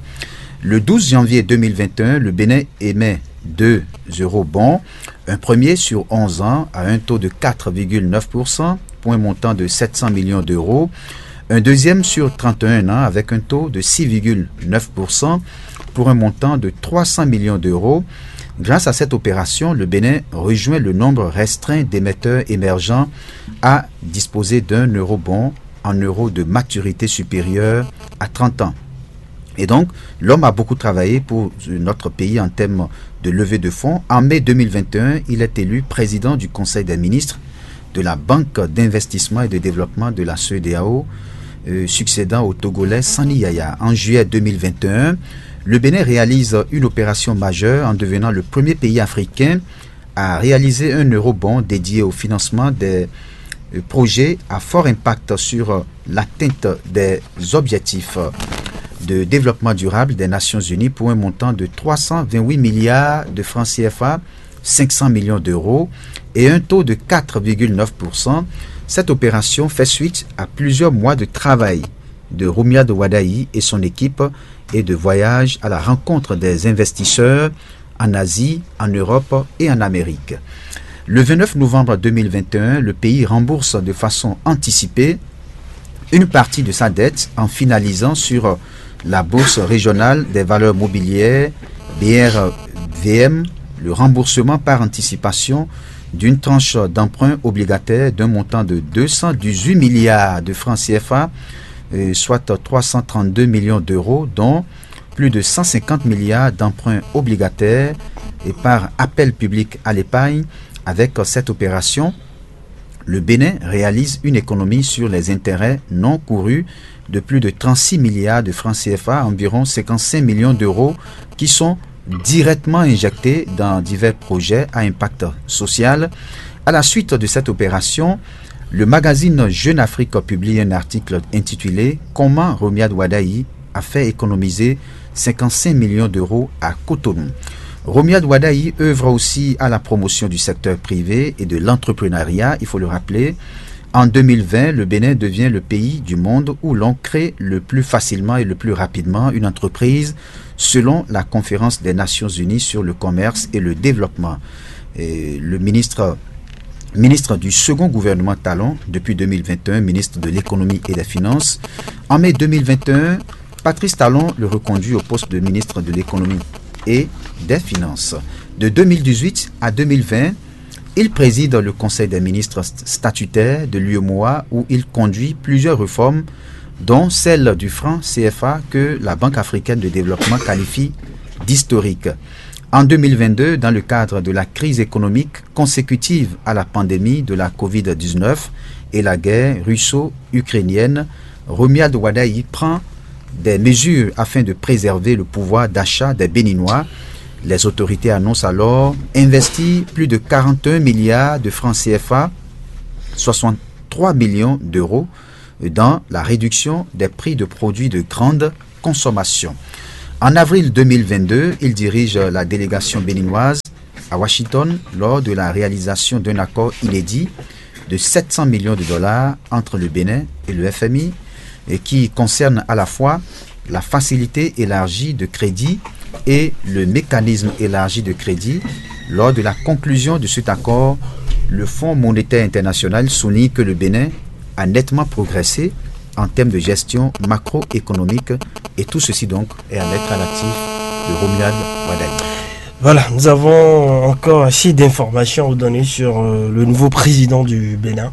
Le douze janvier deux mille vingt et un, le Bénin émet deux eurobonds, un premier sur onze ans à un taux de quatre virgule neuf pour cent pour un montant de sept cents millions d'euros, un deuxième sur trente et un ans avec un taux de six virgule neuf pour cent pour un montant de trois cents millions d'euros. Grâce à cette opération, le Bénin rejoint le nombre restreint d'émetteurs émergents à disposer d'un eurobond en euros de maturité supérieure à trente ans. Et donc, l'homme a beaucoup travaillé pour notre pays en termes de levée de fonds. En mai deux mille vingt et un, il est élu président du Conseil des ministres de la Banque d'investissement et de développement de la C E D E A O, euh, succédant au Togolais Sani Yaya. En juillet deux mille vingt et un, le Bénin réalise une opération majeure en devenant le premier pays africain à réaliser un eurobond dédié au financement des, euh, projets à fort impact sur, euh, l'atteinte des objectifs de développement durable des Nations Unies pour un montant de trois cent vingt-huit milliards de francs C F A, cinq cents millions d'euros et un taux de quatre virgule neuf pour cent. Cette opération fait suite à plusieurs mois de travail de Romuald Wadagni et son équipe et de voyages à la rencontre des investisseurs en Asie, en Europe et en Amérique. Le vingt-neuf novembre deux mille vingt et un, le pays rembourse de façon anticipée une partie de sa dette en finalisant sur la Bourse régionale des valeurs mobilières, B R V M, le remboursement par anticipation d'une tranche d'emprunt obligataire d'un montant de deux cent dix-huit milliards de francs C F A, euh, soit trois cent trente-deux millions d'euros, dont plus de cent cinquante milliards d'emprunts obligataires et par appel public à l'épargne. Avec cette opération, le Bénin réalise une économie sur les intérêts non courus de plus de trente-six milliards de francs C F A, environ cinquante-cinq millions d'euros, qui sont directement injectés dans divers projets à impact social. À la suite de cette opération, le magazine Jeune Afrique publie un article intitulé « Comment Romuald Wadagni a fait économiser cinquante-cinq millions d'euros à Cotonou ». Romuald Wadagni œuvre aussi à la promotion du secteur privé et de l'entrepreneuriat, il faut le rappeler. En deux mille vingt, le Bénin devient le pays du monde où l'on crée le plus facilement et le plus rapidement une entreprise, selon la Conférence des Nations Unies sur le commerce et le développement. Et le ministre, ministre du second gouvernement Talon depuis deux mille vingt et un, ministre de l'économie et des finances. En mai deux mille vingt et un, Patrice Talon le reconduit au poste de ministre de l'économie et des finances. De deux mille dix-huit à deux mille vingt, il préside le Conseil des ministres st-, statutaires de l'U E M O A, où il conduit plusieurs réformes, dont celle du franc C F A que la Banque africaine de développement qualifie d'historique. En deux mille vingt-deux, dans le cadre de la crise économique consécutive à la pandémie de la covid dix-neuf et la guerre russo-ukrainienne, Romuald Wadagni prend des mesures afin de préserver le pouvoir d'achat des Béninois. Les autorités annoncent alors investir plus de quarante et un milliards de francs C F A, soixante-trois millions d'euros, dans la réduction des prix de produits de grande consommation. En avril deux mille vingt-deux, il dirige la délégation béninoise à Washington lors de la réalisation d'un accord inédit de sept cents millions de dollars entre le Bénin et le F M I, et qui concerne à la fois la facilité élargie de crédit et le mécanisme élargi de crédit. Lors de la conclusion de cet accord, le Fonds monétaire international souligne que le Bénin a nettement progressé en termes de gestion macroéconomique, et tout ceci donc est à mettre à l'actif de Romuald Wadagni. Voilà, nous avons encore assez d'informations à vous donner sur euh, le nouveau président du Bénin.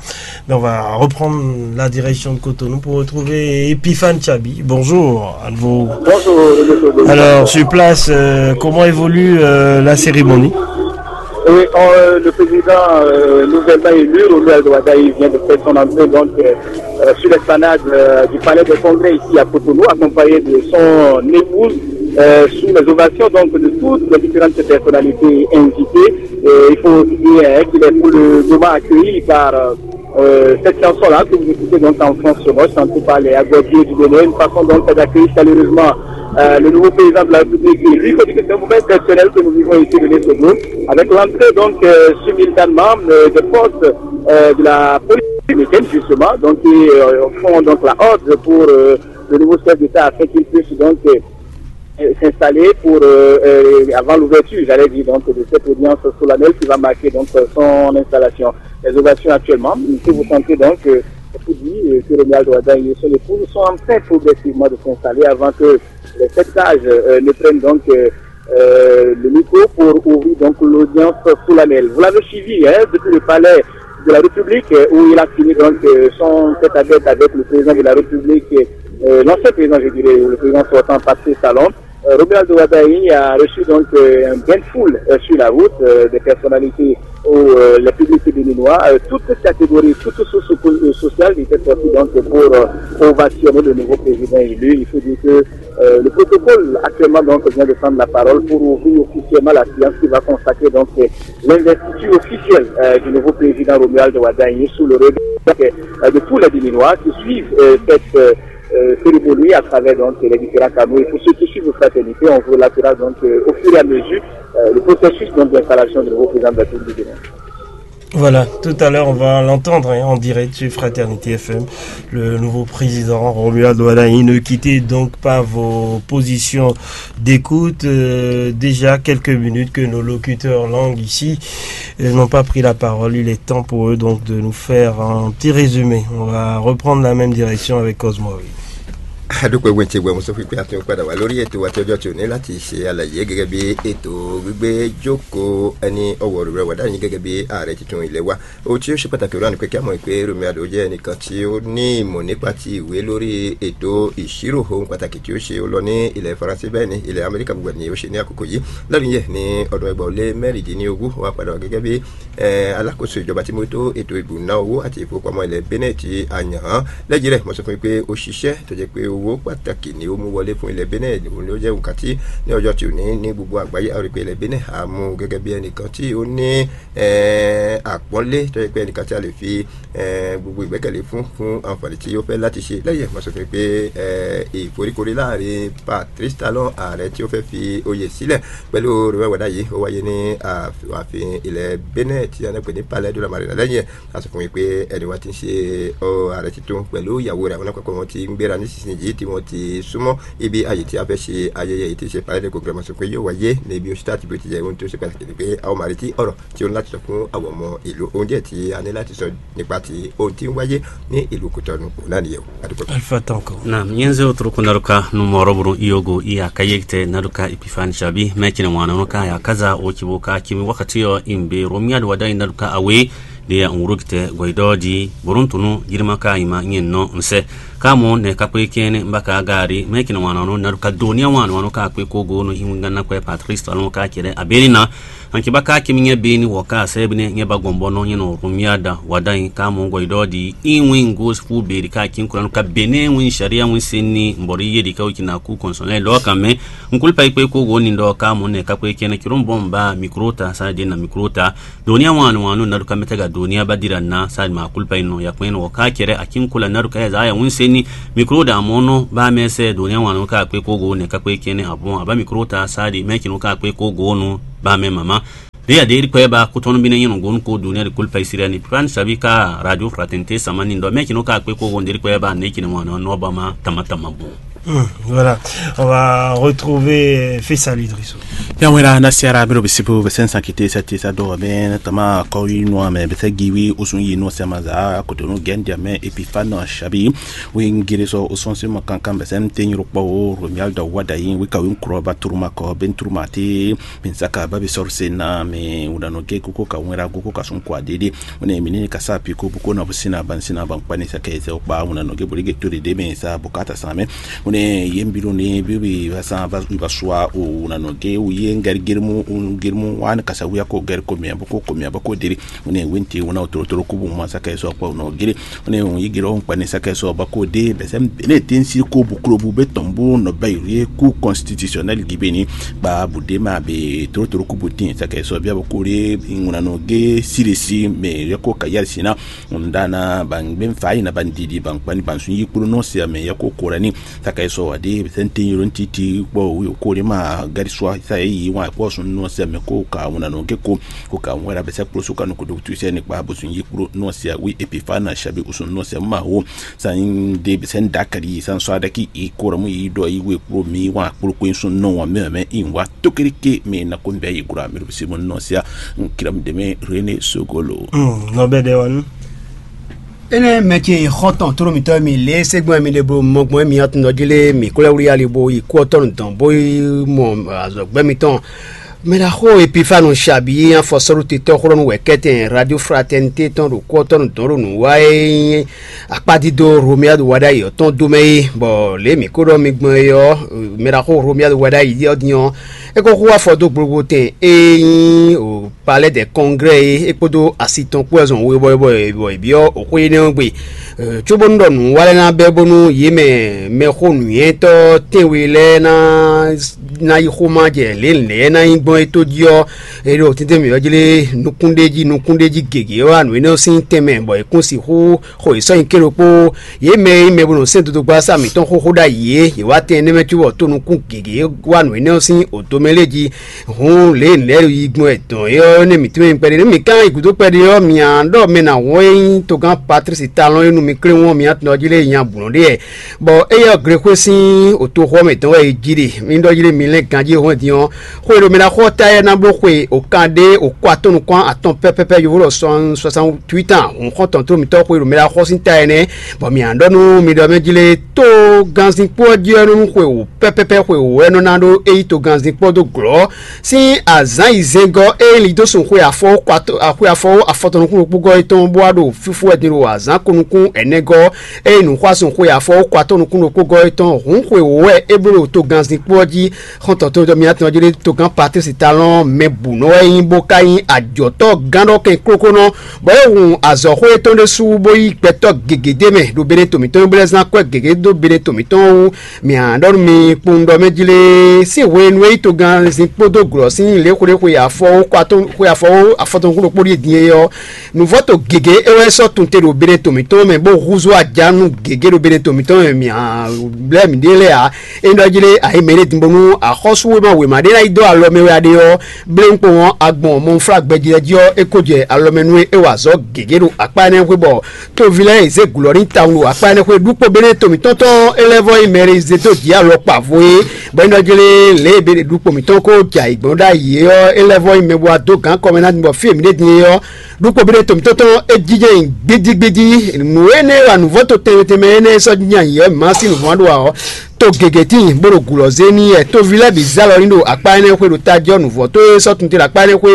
Mais on va reprendre la direction de Cotonou pour retrouver Epiphane Chabi. Bonjour à nouveau. Bonjour, monsieur. Alors, sur place, euh, comment évolue euh, la cérémonie? Oui, euh, le président euh, nouvellement élu, Romuald Wadagni, vient de faire son entrée donc, euh, euh, sur l'esplanade euh, du palais des congrès ici à Cotonou, accompagné de son épouse, euh, sous les ovations donc, de toutes les différentes personnalités invitées. Euh, il faut aussi dire hein, qu'il est pour le moment accueilli par euh, euh, cette chanson-là que vous écoutez donc en France sur Roche, chantée par les Agouadiers du Bénin, une façon donc d'accueillir chaleureusement euh, le nouveau président de la République. Et lui, il faut dire que c'est un moment exceptionnel que nous vivons ici de Lesotho, avec l'entrée donc euh, simultanément euh, des forces euh, de la police américaine, justement, donc qui euh, font donc la horde pour euh, le nouveau chef d'État afin qu'il puisse donc euh, euh, s'installer pour euh, euh, avant l'ouverture, j'allais dire, donc de cette audience solennelle qui va marquer donc euh, son installation. Les ovations actuellement, si vous sentez donc euh, vous dit euh, que Romuald Wadagni et son épouse sont en train progressivement de s'installer avant que les sept sages euh, ne prennent donc euh, euh, le micro pour ouvrir donc l'audience solennelle. Vous l'avez suivi hein, depuis le palais de la République euh, où il a fini donc euh, son tête à tête avec le président de la République, euh, l'ancien président, je dirais, le président sortant Patrice Talon. Euh, Romuald Wadagni a reçu donc euh, un bain de foule euh, sur la route euh, des personnalités ou euh, les publics béninois, euh, toutes catégories, toutes sources sociales étaient sorties donc pour euh, ovationner le nouveau président élu. Il faut dire que euh, le protocole actuellement donc vient de prendre la parole pour ouvrir officiellement la séance qui va consacrer donc l'investiture officielle euh, du nouveau président Romuald Wadagni sous le regard euh, de tous les Béninois qui suivent euh, cette euh, euh, cérémonie à travers donc, les différents canaux. Et pour ceux qui suivent Fraternité, on vous relatera donc euh, au fur et à mesure euh, le processus donc, d'installation du nouveau président de la République du Bénin. Voilà, tout à l'heure on va l'entendre hein, en direct sur Fraternité F M. Le nouveau président Romuald Wadagni, ne quittez donc pas vos positions d'écoute. Euh, déjà quelques minutes que nos locuteurs langues ici euh, n'ont pas pris la parole. Il est temps pour eux donc de nous faire un petit résumé. On va reprendre la même direction avec Cosmo. Adúpẹ́ wẹ̀ntì wẹ̀ mo sọ fún pé a tún padà wá lórí ètò àti ọjọ́ tí ò ní láti ṣe àlàyé gẹ́gẹ́ bí ètò gbígbé jókòó ẹni ọwọ́ rẹ̀ wà dání gẹ́gẹ́ bí ààrẹ tuntun ilé wa. Ohun tí ó ṣe pàtàkì rán ni pé kí a mọ̀ pé Romuald Wadagni jẹ́ ẹnìkan tí ó ní ìmọ̀ nípa ti ìwé lórí ètò ìṣirò. Ohun pàtàkì tí ó ṣe ó lọ ní ilẹ̀ Faransé, bẹ́ẹ̀ ni ilẹ̀ Amẹ́ríkà gbogbo ni ó ṣe ní àkókò yìí. Lẹ́nu yẹn ní ọdún ẹgbàá ó lé mẹ́rìndínlógún wá padà wá gẹ́gẹ́ bí alákòóso ìjọba tí mójútó ètò ìbùná owó àti ìfowópamọ́ ilẹ̀ Benin tí a yàn án. Lẹ́yìn rẹ̀ mo sọ fún yín pé ó ṣiṣẹ́ tó jẹ́ pé owó pàtàkì ni ó mú wọlé fún ilẹ̀ Benin. Òun ló jẹ́ nǹkan tí ní ọjọ́ tí ò ní ní gbogbo àgbáyé a rí pé ilẹ̀ Benin a mú gẹ́gẹ́ bí ẹnìkan tí ó ní àpọ́nlé tó jẹ́ pé ẹnìkan tí a lè fi gbogbo ìgbẹ́kẹ̀lé fún fún àǹfààní tí ó fẹ́ láti ṣe. Lẹ́yìn ẹ̀ mo sọ fún yín pé ìforíkorí láàrin Patrice Talon, ààrẹ tí ó fẹ́ fi oyè sílẹ̀, pẹ̀lú Romuald Wadagni, ó wáyé ní ààfin ilẹ̀ Benin tí a ń pè ní Palais de la Marina. Lẹ́yìn ẹ̀ a sọ fún yín pé ẹni wa ti ń ṣe ààrẹ tuntun pẹ̀lú ìyàwó rẹ̀, àwọn alákọ̀ọ́kọ́ wọn ti ń gbéra nísinsìnyí tí wọ́n ti súnmọ́ ibi àyè tí a fẹ́ ṣe ayẹyẹ yìí tí ṣe Palais de Congrès. Mo sọ pé yóò wáyé ní bí ó ṣe tá àti bí ó ti jẹ́. Ohun tí ó ṣe pàtàkì ni pé a ó máa retí ọ̀rọ̀ tí ó ní láti sọ fún àwọn ọmọ ìlú. Ohun díẹ̀ tí a ní láti sọ nípa ti ohun tí ń wáyé ní ìlú Kútọ́nù òun náà nìyẹn o. Adúpẹ́. Alpha Tanko. Na nyenze otroko naruka numoro buru iyogo iya kayekte naruka Epiphane Chabi mekine wana nuka ya kaza ochibuka kimi wakati yo imbe Romuald Wadagni naruka awe de ya ngurukite goidodi buruntunu jirima ka ima nyen no nse. Kamo ne kakwe kene mbaka gari mekine wana no naruka dunia wana wano kakwe kogo no imungana kwe Patrice Talon ka kere abelina Mankibaka kimi nyɛ be ni wɔ ka sɛ bine nyɛ ba gbɔn bɔnɔ nyɛ nɔ rumia da wada yin ka mɔ gɔ idɔ di in win go fu be di ka kin kuran ka bene win sharia win sin ni mbɔri ye di ka wiki na ku kɔnsɔn lɛ lɔ kan mɛ. Nkul pa ikpe ko go ni dɔ ka mɔ ne ka kwe kene kiron bɔn ba mikro ta sa de na mikro ta. Dunia wanu wanu na du ka mete ga dunia ba dira na sa ma kul pa ino ya kwen wɔ ka kere a kin kula na du ka ya za ya win sin ni. Mikro da mɔ no ba mɛ sɛ dunia wanu ka kwe ko go ne ka kwe kene a bon a ba mikro ta sa di mɛ kinu ka kwe ko go nu ba mɛ mama. Ri a de ri kpɛ ba kutɔnu bi ne nyɛ nɔ gonu ko dunia de kulpa isira ni plan sabi ka radio fraternité sama ni dɔ mɛ kinu ka kpe ko wonde ri kpɛ ba ne kinu wana no ba ma tama tama bon. Hmm, voilà, on va retrouver Fessal Idrissou. Ya wera na siara biro bisibu besen sankite sati sa do ben tama ko yi no ame bese giwi usun yi no sema za ko to no gendi ame epifano shabi. Wi ngiri so usun sima kankan besen tenyiro po romial da wada yi wi ka wi nkro ba turuma ko ben turuma ti. Bin saka ba bi sɔrɔ se na mɛ wunanɔ ge koko ka wɛn ra go ko ka sun kwa dede. Wene mini ka sa pi ko bu ko na bu sina ban sina ban kpani saka ese okpa wunanɔ ge boli ge tori de mɛ sa bukata sa mɛ. Wene yem bilo ni bi bi ba sa ba ba sua o wunanɔ ge u ye ngari gerimu gerimu wan ka sa wiya ko gari ko mɛ bu ko ko mɛ ba ko diri. Wene winti wuna o toro toro kubu ma saka ese okpa wunanɔ geri. Wene un yi giro un kpani saka ese oba ko de bɛ sɛ bene tin si ko bu klo bu be tɔn bu nɔ ba yi ku constitutionnel gibeni. Ba bu de ma be toro toro kubu tin saka ese bia ba ko de ŋuna no ge siri si mɛ yɛ ko ka yari sina. Un da na ba ngbe fa yi na ba ndidi ba nkpani ba sun yi kplo no se mɛ yɛ ko korani. Saka ese wa de bɛ sɛ tin yoro titi kpɔ wi ko de ma gari swa sa yi wa kpɔ sun no se mɛ ko ka ŋuna no ge ko ko ka ŋwɛra bɛ sɛ kplo su ka no ko do tu se ne kpa bo sun yi kplo no se wi epifa na shabi usun no se ma wo. San de sɛn dakali san sɔ adaki i kora mu i dɔ i we kplo mi wa kplo kwe sun nɔ wa mɛ mɛ i wa tokiri ke mi na ko bɛ i kura mi si mo nɔ sia. Kiram deme rene sogolo. Nɔ bɛ dɛ wanu. Ene mɛ ce xɔtɔn toro mitɔ mi le segbɔn mi le blo mɔgbɔn mi atun dɔ jele mi kula wuli ali bo i kɔ tɔn dɔn bo i mɔ azɔgbɛ mitɔn. Mɛ ɖaxó Epifanu Xabi e nyí afɔsɔ́ɖutetɔ́ xlɔ́nú wɛ kɛ́tɛn Radio Fraternité tɔn ɖo kú ɔ́ tɔn nú dɔn ɖo nǔ wa e nyí akpádídó Romuald Wadagni ɔ́ tɔn dó mɛ é, bɔ lě e mǐ ko ɖɔ mi gbɔn é ɔ́, mɛ ɖaxó Romuald Wadagni ɔ́ din ɔ́, é ko xú afɔ dó gblogbo tɛn e nyí Palais des Congrès é, é kpódó asi tɔn kpó wɛ zɔn we bɔ è byɔ́ xwé énɛ́ ɔ́ gbe. Cóbónú ɖɔ nǔ wa lɛ́ɛ ná bɛ́ bónú yě mɛ mɛxó nǔnywɛ́tɔ́ tɛ́nwe lɛ́ɛ ná ná yi xomajɛ lě lɛ̌ ná nyí gbɔn é tó jí ɔ́, é ɖo tɛ́ntɛ́n mǐ ɔ́ jlé nukúnɖéjí nukúnɖéjí gěgé wá nǔ énɛ́ ɔ́ sín tɛnmɛ bɔ è kún sixú xo yě sɔ́ nyi kélé kpó. Yě mɛ e nyí mɛ bó nɔ sɛ́n dodogba sá mǐtɔn xóxó ɖ'ayǐ é, yě wá tɛn énɛ́ mɛ cóbɔ tónukún gěgé wá nǔ énɛ́ ɔ́ sín odǒmɛ lé jí. Hǔn lě e nɛ̌ ɖo yi gbɔn wɛ dɔn é ɔ́ nɛ́ mǐtɔn e kpɛɖé nú mǐ kán yi gǔdo kpɛɖé ɔ́, mǐ á ɖɔ mɛ nǎ wɔn e nyí togán Patlísi Talɔn e nú mi klé wɔn mǐ atɔn jí lé nya bǔ nɔ ɖe wɛ. Bɔ éyɛ́ ɔ́, Glexwé sín otoxɔ mǐtɔn wɛ è ji ɖe. Mi ɖɔ jí ɖe mi lɛ́n ganjí hɔn din ɔ́, xwe ɖo mɛ ná xɔ ta yɛ ná bló xwe òkan ɖé òkó atɔn nukún atɔn pɛ́pɛ́pɛ́ yovo lɔ sɔn soixante-huit ans hǔn xɔ́ntɔn tó mǐtɔn xwe ɖo mɛ ná xɔ sín ta yɛ nɛ́. Bɔ mǐ á ɖɔ nú mi ɖɔ mɛ jí lé tó gánzin kpó ɔ́ jí ɔ́ nú xwe wǒ pɛ́pɛ́pɛ́ xwe wǒ wɛ nɔ ná ɖó é yí togánzin kpó dó glɔ̌ sín azǎn yi zɛngɔ́ é lin dó sun xwe afɔ xwe afɔ afɔtɔn nukún ɖokpó gɔ́ é tɔn bó wá ɖo fífú wɛ din ɖo azǎn ko nukún ɛnɛ́ gɔ́. Eye nǔxwásún xwe afɔ wó kɔ atɔ́ nukún ɖokpó gɔ́ é tɔn hǔn xwe wǒ wɛ é bló ɖo togannzin kpó ɔ́ jí. Xɔ́ntɔn tó mi atɔn jí ɖé togán Patlísi Talɔ́n mɛ bǔ nɔ wɛ nyí bó ka nyí ajɔ̌tɔ́ gán ɖɔ kɛn kókónɔ, bɔ é hun azɔ̌xwé tɔn ɖésú bó yí gbɛtɔ́ gěgé d'é mɛ ɖo Beneto mǐtɔn bó lɛ́ zán kwɛ́ gěgé dó Beneto mǐtɔn wú. Mǐ a ɖɔ nú mi kpowun ɖɔ mɛ jí lé sín hwenu e yí togannzin kpódó glɔ̌ sín lě xwé ɖé xwe afɔ wó kɔ atɔ́ xwe afɔ wó afɔtɔn kún ɖokpó ɖíe din é ɔ́, nǔvɔ́to gěgé é wɛ sɔ́ tunte ɖo Beneto mǐtɔn mɛ bó húzú ajá nú gěgé ɖo Beneto mǐtɔn mɛ mǐ a lɛ́ mǐɖée lɛ́ɛ ǎ. É ɖɔ jí lé ayǐ mɛ ɖé din bónú axɔ́súwéma wěma ɖé ná yi dó alɔ mɛ wɛ a ɖe ɔ́, bléwúnkpo ɔ́, agbɔn mɔnflágbɛjí ɔ́ jí ɔ́, é ko jɛ alɔ mɛ nú é, é wa azɔ̌ gěgé ɖo akpá énɛ́ xwé bɔ toví lɛ́ɛ yi zé gǔlɔ n'i tawun ɖo akpá énɛ́ xwé ɖúkpo Beneto mǐtɔn tɔn é lɛ́ vɔ nyí mɛ e zé dó jǐ alɔ kpa vo é, bɔ é ɖɔ jí lé lě e Beneto ɖúkpo mǐtɔn ko jɛ ayǐ gbɔn ɖ'ayǐ é ɔ́, é lɛ́ vɔ nyí mɛ bó wá dó gǎn kɔmɛ ná din bɔ fí e mǐ ɖe din é ɔ́, ɖukpo bí ɖé to mǐtɔn tɔn é jínjɔ́n nyi gbídígbídí. Nǔ énɛ́ e wa nǔvɔ́ to tɛnmɛ tɛnmɛ énɛ́ e sɔ́ jínjɔ́n ayǐ ɔ́, mǐ má sí nǔvɔ́ ɖó ǎ ɔ́, To gěgé tíin bó ɖo gǔ lɔ zé n'i wɛ. Toví lɛ́ɛ bǐ zé alɔ ní ɖo akpá énɛ́ xwé ɖo tají ɔ́, nǔvɔ́ tó e sɔ́ tunte ɖo akpá énɛ́ xwé.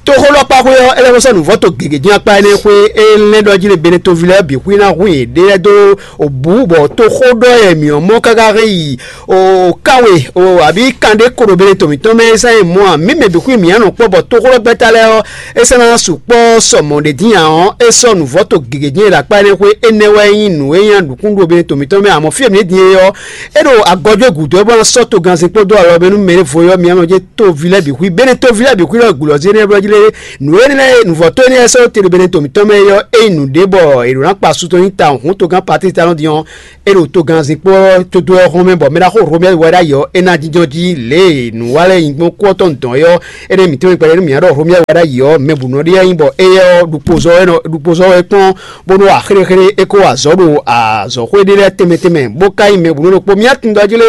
Toxó ɖɔ akpá xwé ɔ́, é lɛ́ ko sɔ́ nǔvɔ́ to gěgé dín akpá énɛ́ xwé. É lɛ́ ɖɔ jí lé bene toví lɛ́ɛ bǐ xwí ná hu yěɖée lɛ́ɛ dó bǔ, bɔ toxó ɖɔ wɛ mǐ ɔ́ mɔ káká hɛn yi o kánwe o abǐ kan ɖé ko ɖo bene to mǐtɔn mɛ. É sɛ́n mɔ ǎ. Mǐ mɛ bǐ xwí mǐ á nɔ kpɔ́, bɔ toxó ɖɔ gbɛ́ta lɛ́ɛ ɔ́, é sɛ́ ná sukpɔ́ sɔ mɔ̌ ɖě dín ǎ ɔ́, é sɔ́ nǔvɔ́ to gěgé dín e ɖo akpá énɛ́ xwé. Énɛ́ wɛ nyí nǔ e nyí nǔkún ɖo bene to mǐtɔn mɛ, amɔ̌ fí e mǐ ɖe din é ɔ́, é ɖo agɔjɔ́ gǔdo wɛ bó ná sɔ́ togannzin kpódó alɔ mɛ nú mɛ e vo é ɔ́, mi ɔ́ nɔ jɛ toví lɛ́ɛ bǐ xwí. Bene toví lɛ́ɛ bǐ xwí lɔ gǔ lɔ zé nɛ́ blɔ́ jí lé. Nǔ énɛ́ lɛ́ɛ, nǔvɔ́tɔ́ énɛ́ lɛ́ɛ sɔ́ te ɖo bene to mǐtɔn mɛ é ɔ́, é nyí nǔɖé bɔ è ɖǒ ná kpa su tɔn nyi tawun hǔn togán Patísi Talɔ́n din ɔ́, é ɖo togannzin kpó ɔ́ tó dó ɔ́ hɔn mɛ, bɔ mɛ ɖaxó Romɛ́ɛ wɛ ɖ'ayǐ ɔ́, é ná jínjɔ́n jí lě e nǔ wa lɛ́ɛ nyí gbɔn kú ɔ́ tɔn dɔn é ɔ́, énɛ́ mǐtɔn e kpɛɖé nú mǐ ná ɖɔ Romɛ́ɛ wɛ ɖ'ayǐ ɔ́, mɛ bǔ nɔ ɖe wɛ nyí, bɔ éyɛ́ ɔ́ ɖukpozɔ́ wɛ nɔ ɖukpozɔ́ wɛ kpɔ́n bó nɔ́ wa xéɖéxéɖé, é ko wa azɔ̌ ɖo azɔ̌xwé ɖé lɛ́ɛ tɛnmɛ tɛnmɛ, bó ka nyí mɛ bǔ nɔ́ ɖokpó. Mía tunwun ɖɔ jí lé,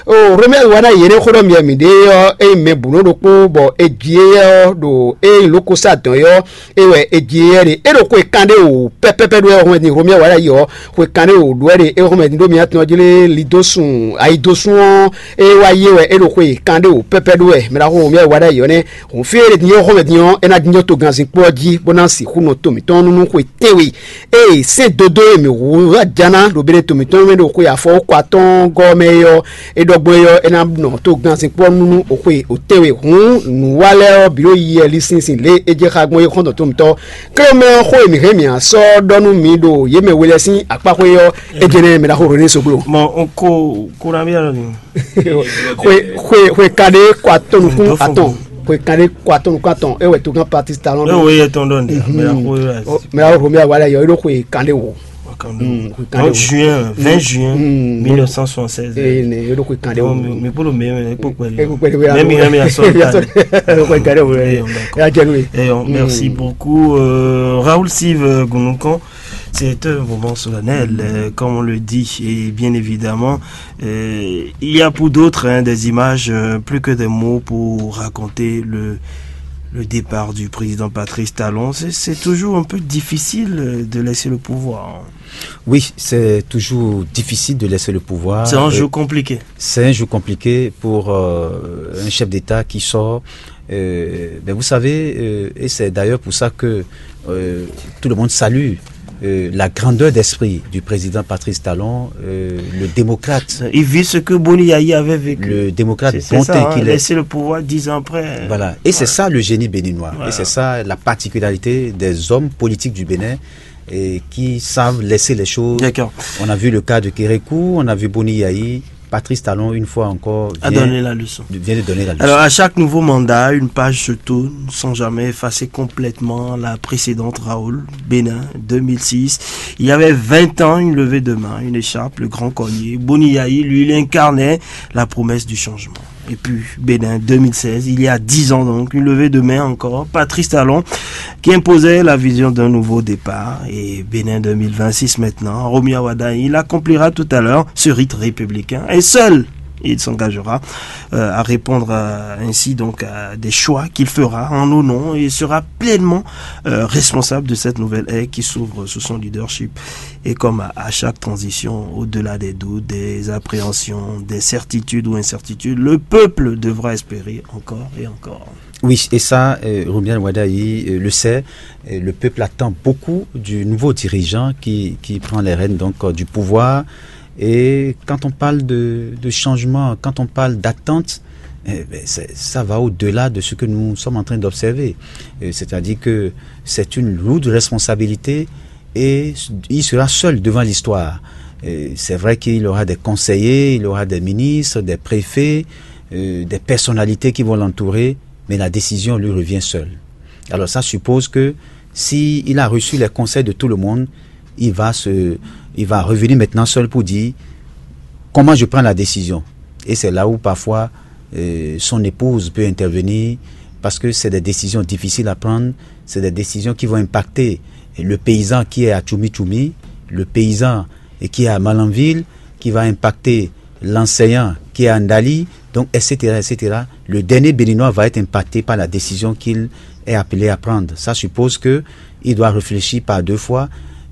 o Romɛ́ɛ wɛ ná yě ɖé xó ɖɔ mǐ mǐ ɖe ɔ́, é nyí mɛ bǔ nɔ́ ɖokpó, bɔ è ji éyɛ́ ɔ́ ɖo é nyí lǒkosá dɔn é ɔ́, é wɛ è ji éyɛ́ ɖe. É ɖo xwe kanɖé wǒ pɛ́pɛ́pɛ́ ɖó wɛ hɔn mɛ din Romɛ́ɛ wɛ ná yi ɔ́, xwe kanɖé wǒ ɖó wɛ ɖe é hɔn mɛ din ɖó mía tunwun ɔ́ jí lé, lidósun ayidósun ɔ́, é wá yé wɛ é ɖo xwe kanɖé wǒ pɛ́pɛ́ ɖó wɛ. Mɛ ɖaxó Romɛ́ɛ wɛ ná yi ɔ́ nɛ́. Hǔn fí e é ɖe din é hɔn mɛ din ɔ́, é ná jínjɔ́n togannzin kpó ɔ́ jí, bó ná sixú nɔ to mǐtɔn nú nú xwe tɛ́nwe. Ée sɛ́n dodó e mǐ hu wá jǎ ná ɖo Benetɔn mǐtɔn mɛ ɖo xwe afɔwúkɔ atɔ́ɔ́ngɔ́ ɔ́ mɛ é ɔ́, é ɖɔ gbɔn é ɔ́, é ná nɔ togannzin kpɔ́ nú nú xwe tɛ́nwe. Hǔn nǔ wa lɛ́ɛ ɔ́ bǐ ɖo yiyi wɛ linsin sín lě e é jɛ xá gbɔn é xɔ́ntɔn tɔn mǐtɔn. Klé mɛ ɔ́, xó e mǐ hɛn mǐ ná sɔ́ ɖɔ nú mi ɖo yě mɛ we lɛ́ɛ sín akpáxwé ɔ́, é jɛ́n nɛ́ mɛ ɖaxó René Soglo. Bon, on ko kura bien ni. Xwe xwe xwe kaɖé kɔ atɔn nukún atɔn. Xwe kaɖé kɔ atɔn nukún atɔn é wɛ togán Patrice Talon. Eo ye tɔn dɔn de. Mɛ la ko ye. Mɛ la ko mi awa la yɔ é ɖo xwe kaɖé wo. Donc juin, vingt juin mille neuf cent soixante-seize. Ee ne é ɖo xwe kaɖé wo. Mi kpolo mɛ mɛ kpokpɛ. Même il a mis à son. Xwe kaɖé wo. Ya jɛ nwe. Merci beaucoup. Euh, Raoul Sive Gunukon, c'est un moment solennel, euh, comme on le dit, et bien évidemment, euh, il y a pour d'autres, hein, des images, euh, plus que des mots pour raconter le, le départ du président Patrice Talon. C'est, c'est toujours un peu difficile, euh, de laisser le pouvoir. Oui, c'est toujours difficile de laisser le pouvoir. C'est un jeu compliqué. C'est un jeu compliqué pour, euh, un chef d'État qui sort. Euh, ben, vous savez, euh, et c'est d'ailleurs pour ça que, euh, tout le monde salue, euh, la grandeur d'esprit du président Patrice Talon, euh, le démocrate. Il vit ce que Boni Yayi avait vécu. Le démocrate, c'est, c'est bonté ça, hein, qu'il est. Laisser le pouvoir dix ans après. Voilà. Et c'est ça le génie béninois. Voilà. Et c'est ça la particularité des hommes politiques du Bénin, et qui savent laisser les choses. D'accord. On a vu le cas de Kérékou, on a vu Boni Yayi, Patrice Talon, une fois encore, a vient donné la leçon. Vient de donner la leçon. Alors, à chaque nouveau mandat, une page se tourne sans jamais effacer complètement la précédente. Raoul, Bénin, deux mille six, il y avait vingt ans, une levée de main, une écharpe, le grand collier. Boni Yayi, lui, il incarnait la promesse du changement. Et puis, Bénin, deux mille seize, il y a dix ans donc, une levée de main encore. Patrice Talon, qui imposait la vision d'un nouveau départ. Et Bénin deux mille vingt-six maintenant, Romuald Wadagni, il accomplira tout à l'heure ce rite républicain. Et seul, il s'engagera, euh, à répondre, euh, ainsi donc à des choix qu'il fera en nos noms et sera pleinement, euh, responsable de cette nouvelle ère qui s'ouvre sous son leadership. Et comme à, à chaque transition, au-delà des doutes, des appréhensions, des certitudes ou incertitudes, le peuple devra espérer encore et encore. Oui, et ça, euh, Romuald Wadagni, euh, le sait. Euh, le peuple attend beaucoup du nouveau dirigeant qui, qui prend les rênes donc, euh, du pouvoir. Et quand on parle de, de changement, quand on parle d'attente, eh ben, c'est, ça va au-delà de ce que nous sommes en train d'observer. Euh, c'est-à-dire que c'est une lourde responsabilité et il sera seul devant l'histoire. Et c'est vrai qu'il aura des conseillers, il aura des ministres, des préfets, euh, des personnalités qui vont l'entourer, mais la décision lui revient seule. Alors ça suppose que si il a reçu les conseils de tout le monde, il va se, il va revenir maintenant seul pour dire comment je prends la décision. Et c'est là où parfois, euh, son épouse peut intervenir parce que c'est des décisions difficiles à prendre, c'est des décisions qui vont impacter le paysan qui est à Tchoumi Tchoumi, le paysan et qui est à Malanville, qui va impacter l'enseignant qui est à Ndali, donc, et cetera, et cetera. Le dernier Béninois va être impacté par la décision qu'il est appelé à prendre. Ça suppose que il doit réfléchir par deux fois,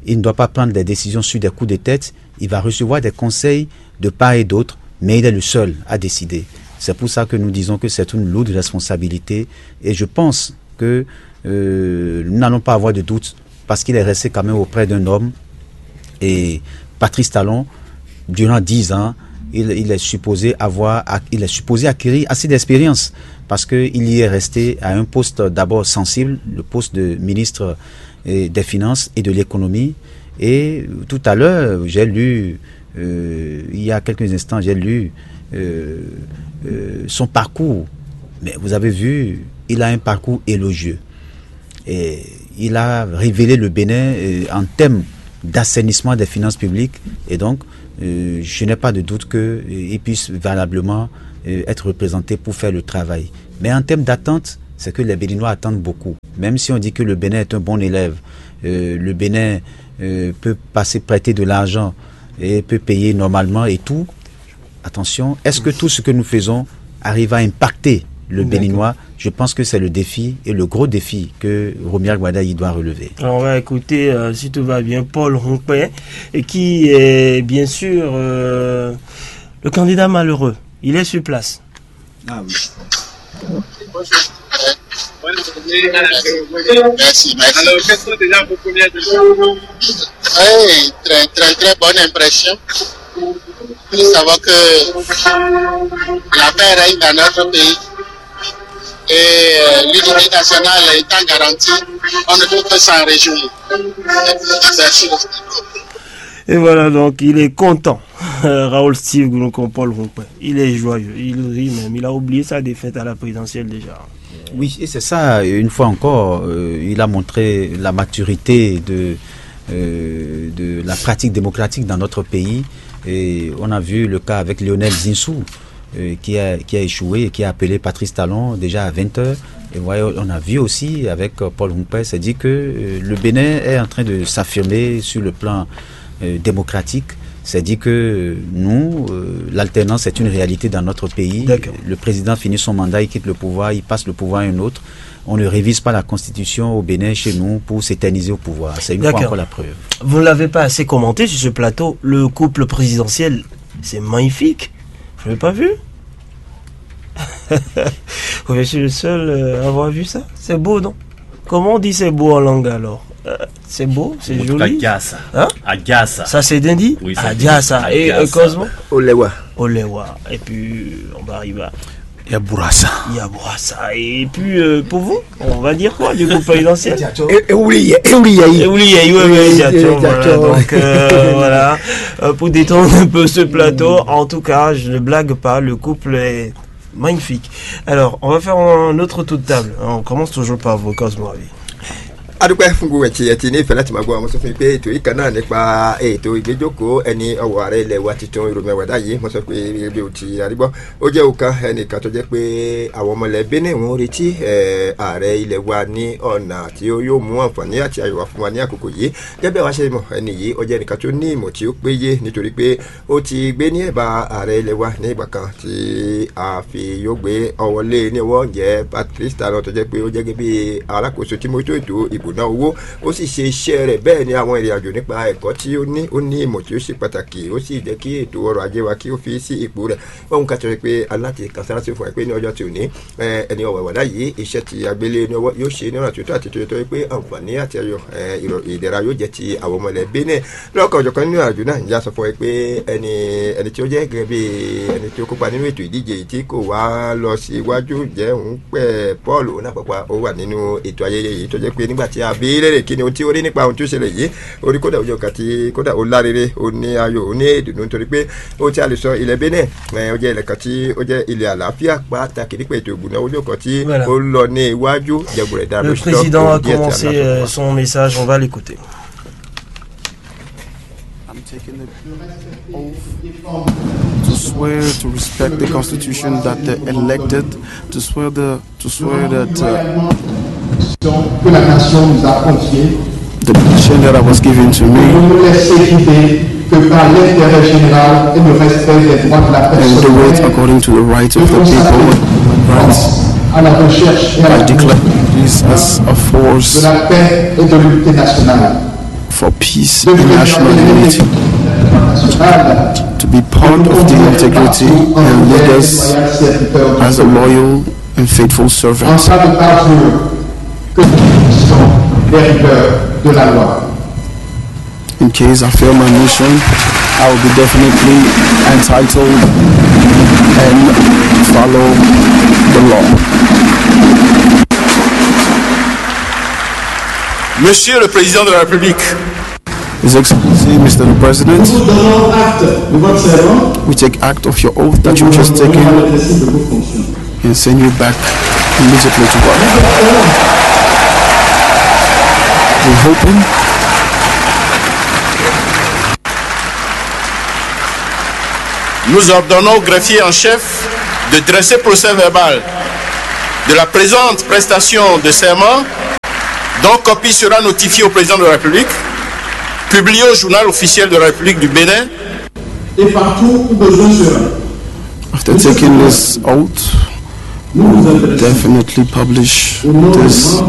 il ne doit pas prendre des décisions sur des coups de tête, il va recevoir des conseils de part et d'autre, Mais il est le seul à décider. C'est pour ça que nous disons que c'est une lourde responsabilité et je pense que euh, nous n'allons pas avoir de doute parce qu'il est resté quand même auprès d'un homme et Patrice Talon, durant dix ans, il, il est supposé avoir, il est supposé acquérir assez d'expérience parce qu'il y est resté à un poste d'abord sensible, le poste de ministre euh, des Finances et de l'Économie. Et tout à l'heure, j'ai lu, euh, il y a quelques instants, j'ai lu euh, euh, son parcours. Mais vous avez vu, il a un parcours élogieux. Et il a révélé le Bénin euh, en termes d'assainissement des finances publiques. Et donc, euh, je n'ai pas de doute qu'il puisse valablement euh, être représenté pour faire le travail. Mais en termes d'attente, c'est que les Béninois attendent beaucoup. Même si on dit que le Bénin est un bon élève, euh, le Bénin euh, peut passer prêter de l'argent et peut payer normalement et tout, attention, est-ce que tout ce que nous faisons arrive à impacter le Béninois? Je pense que c'est le défi et le gros défi que Romuald Wadagni doit relever. Alors on va écouter, euh, si tout va bien, Paul Rompé, et qui est bien sûr euh, le candidat malheureux. Il est sur place. Ah oui. Merci, merci. Alors, quelles sont déjà vos premières impressions? Oui, très, très, très bonne impression. Nous savons que la paix règne dans notre pays et euh, l'unité nationale étant garantie, on ne peut que s'en réjouir. Merci. Et voilà, donc il est content. Raoul Steve Goulounkon Paul Rompin. Il est joyeux, il rit même. Il a oublié sa défaite à la présidentielle déjà. Oui, et c'est ça, une fois encore, euh, il a montré la maturité de, euh, de la pratique démocratique dans notre pays. Et on a vu le cas avec Lionel Zinsou, euh, qui, a, qui a échoué et qui a appelé Patrice Talon déjà à vingt heures. Et ouais, on a vu aussi avec euh, Paul Rompin, c'est dit que euh, le Bénin est en train de s'affirmer sur le plan euh, démocratique. C'est dit que euh, nous, euh, l'alternance est une réalité dans notre pays. Le président finit son mandat, il quitte le pouvoir, il passe le pouvoir à un autre. On ne révise pas la constitution au Bénin chez nous pour s'éterniser au pouvoir. C'est une fois encore la preuve. Vous ne l'avez pas assez commenté sur ce plateau. Le couple présidentiel, c'est magnifique. Vous l'avez pas vu? Je suis le seul euh, à avoir vu ça. C'est beau, non? Comment on dit c'est beau en langue alors? Euh, c'est beau, c'est joli. Hein? Agasa. Ça c'est Dindi? Oui, Agasa. Et euh, Cosmo? Olewa. Olewa. Et puis on va arriver à Yaburasa. Yaburasa. Et puis euh, pour vous, on va dire quoi du coup présidentiel? Ewuliye, ewuliye. Ewuliye, voilà. Donc euh, voilà. Euh, pour détendre un peu ce plateau, en tout cas, je ne blague pas, le couple est magnifique. Alors, on va faire un autre tour de table. On commence toujours par vous, Cosmo. Adúpẹ́ fún gbogbo ẹ̀tí ẹ̀tí ní ìfẹ́ láti máa gbọ́ àwọn sọ fún mi pé ètò yìí kan náà nípa ètò ìgbéjókòó ẹni ọwọ́ ààrẹ ilẹ̀ wa tuntun Romuald Wadagni. Mo sọ pé ibi ò ti arígbọ́, ó jẹ́ òkan ẹnìkan tó jẹ́ pé àwọn ọmọ ilẹ̀ Benin wọ́n retí ààrẹ ilẹ̀ wa ní ọ̀nà tí ó yóò mú àǹfààní àti ayọ̀ wá fún wa ní àkókò yìí. Gẹ́gẹ́ bí àwa ṣe mọ̀, ẹni yìí ó jẹ́ ẹnìkan tó ní ìmọ̀ tí ó péye, nítorí pé ó ti gbé ní ẹ̀bá ààrẹ ilẹ̀ wa ní ìgbà kan tí a fi yóò gbé ọwọ́ lé ní ọwọ́. Ǹjẹ́ Patrice Talon tó jẹ́ pé ó jẹ́ gẹ́gẹ́ bí alákòóso tí mójútó ètò ìbò náà owó, ó sì ṣe iṣẹ́ rẹ̀, bẹ́ẹ̀ ni àwọn ìrìn àjò nípa ẹ̀kọ́ tí ó ní, ó ní ìmọ̀ tí ó ṣe pàtàkì, ó sì jẹ́ kí ètò ọrọ̀ ajé wa kí ó fi sí ipò rẹ̀. Ohun kan tó yẹ pé aláti kan sára sí fún ẹ pé ní ọjọ́ tí ò ní, ẹni ọ̀wẹ̀wẹ̀ láyé iṣẹ́ tí agbélé ní ọwọ́ yóò ṣe ní ọ̀nà tó tọ́ àti tó yẹ, tó yẹ pé àǹfààní àti ayọ̀ ìdẹ̀ra yóò jẹ́ ti àwọn ọmọ ilẹ̀ Benin. Lọ́kàn ọ̀jọ̀ kan nínú àjò náà, ǹjẹ́ a sọ fún ẹ pé ẹni ẹni tí ó jẹ́ gẹ́gẹ́ bí ẹni tí ó kópa nínú ètò ìdíje yìí tí kò wá lọ sí iwájú, jẹ́ òun pẹ̀ Paul Onapapa, ó wà nínú ètò ayẹyẹ yìí, tó jẹ́ pé nígbà tí a bí léèrè kí ni ohun tí ó rí nípa ohun tí ó ṣẹlẹ̀ yìí, ó rí kódà ojú ọkàn tí kódà ó lárere, ó ní ayọ̀, ó ní ìdùnnú, nítorí pé ó tí a lè sọ ilẹ̀ Benin, ó jẹ́ ilẹ̀ kan tí ó jẹ́ ilẹ̀ àlàáfíà pàtàkì nípa ètò ìgbìmọ̀ ojú ọkàn tí ó lọ ní iwájú. Jẹ̀bùrẹ̀ dára. Le président a commencé son message, on va l'écouter. I'm taking the oath to swear to respect the constitution that they elected, to swear the to swear that uh, que la nation nous a confiée. The mission that I was given to me. Nous laisser guider que par l'intérêt général et le respect des droits de la personne. And do it according to the rights of the people, rights. À la recherche et à la I declare this as a force de la paix et de l'unité nationale. For peace and national unity. Be part of the integrity and lead us as a loyal and faithful servant. En cas de parjure, que nous puissions les rigueurs de la loi. In case I fail my mission, I will be definitely entitled and follow the law. Monsieur le Président de la République, His Excellency, Mister the President, Nous vous donnons acte de votre serment. We take act of your oath that you just taken and send you back immediately to work. We're hoping. Nous ordonnons au greffier en chef de dresser procès-verbal de la présente prestation de serment, dont copie sera notifiée au président de la République, publiée au journal officiel de la République du Bénin et partout où besoin sera. After taking this oath, we will definitely publish this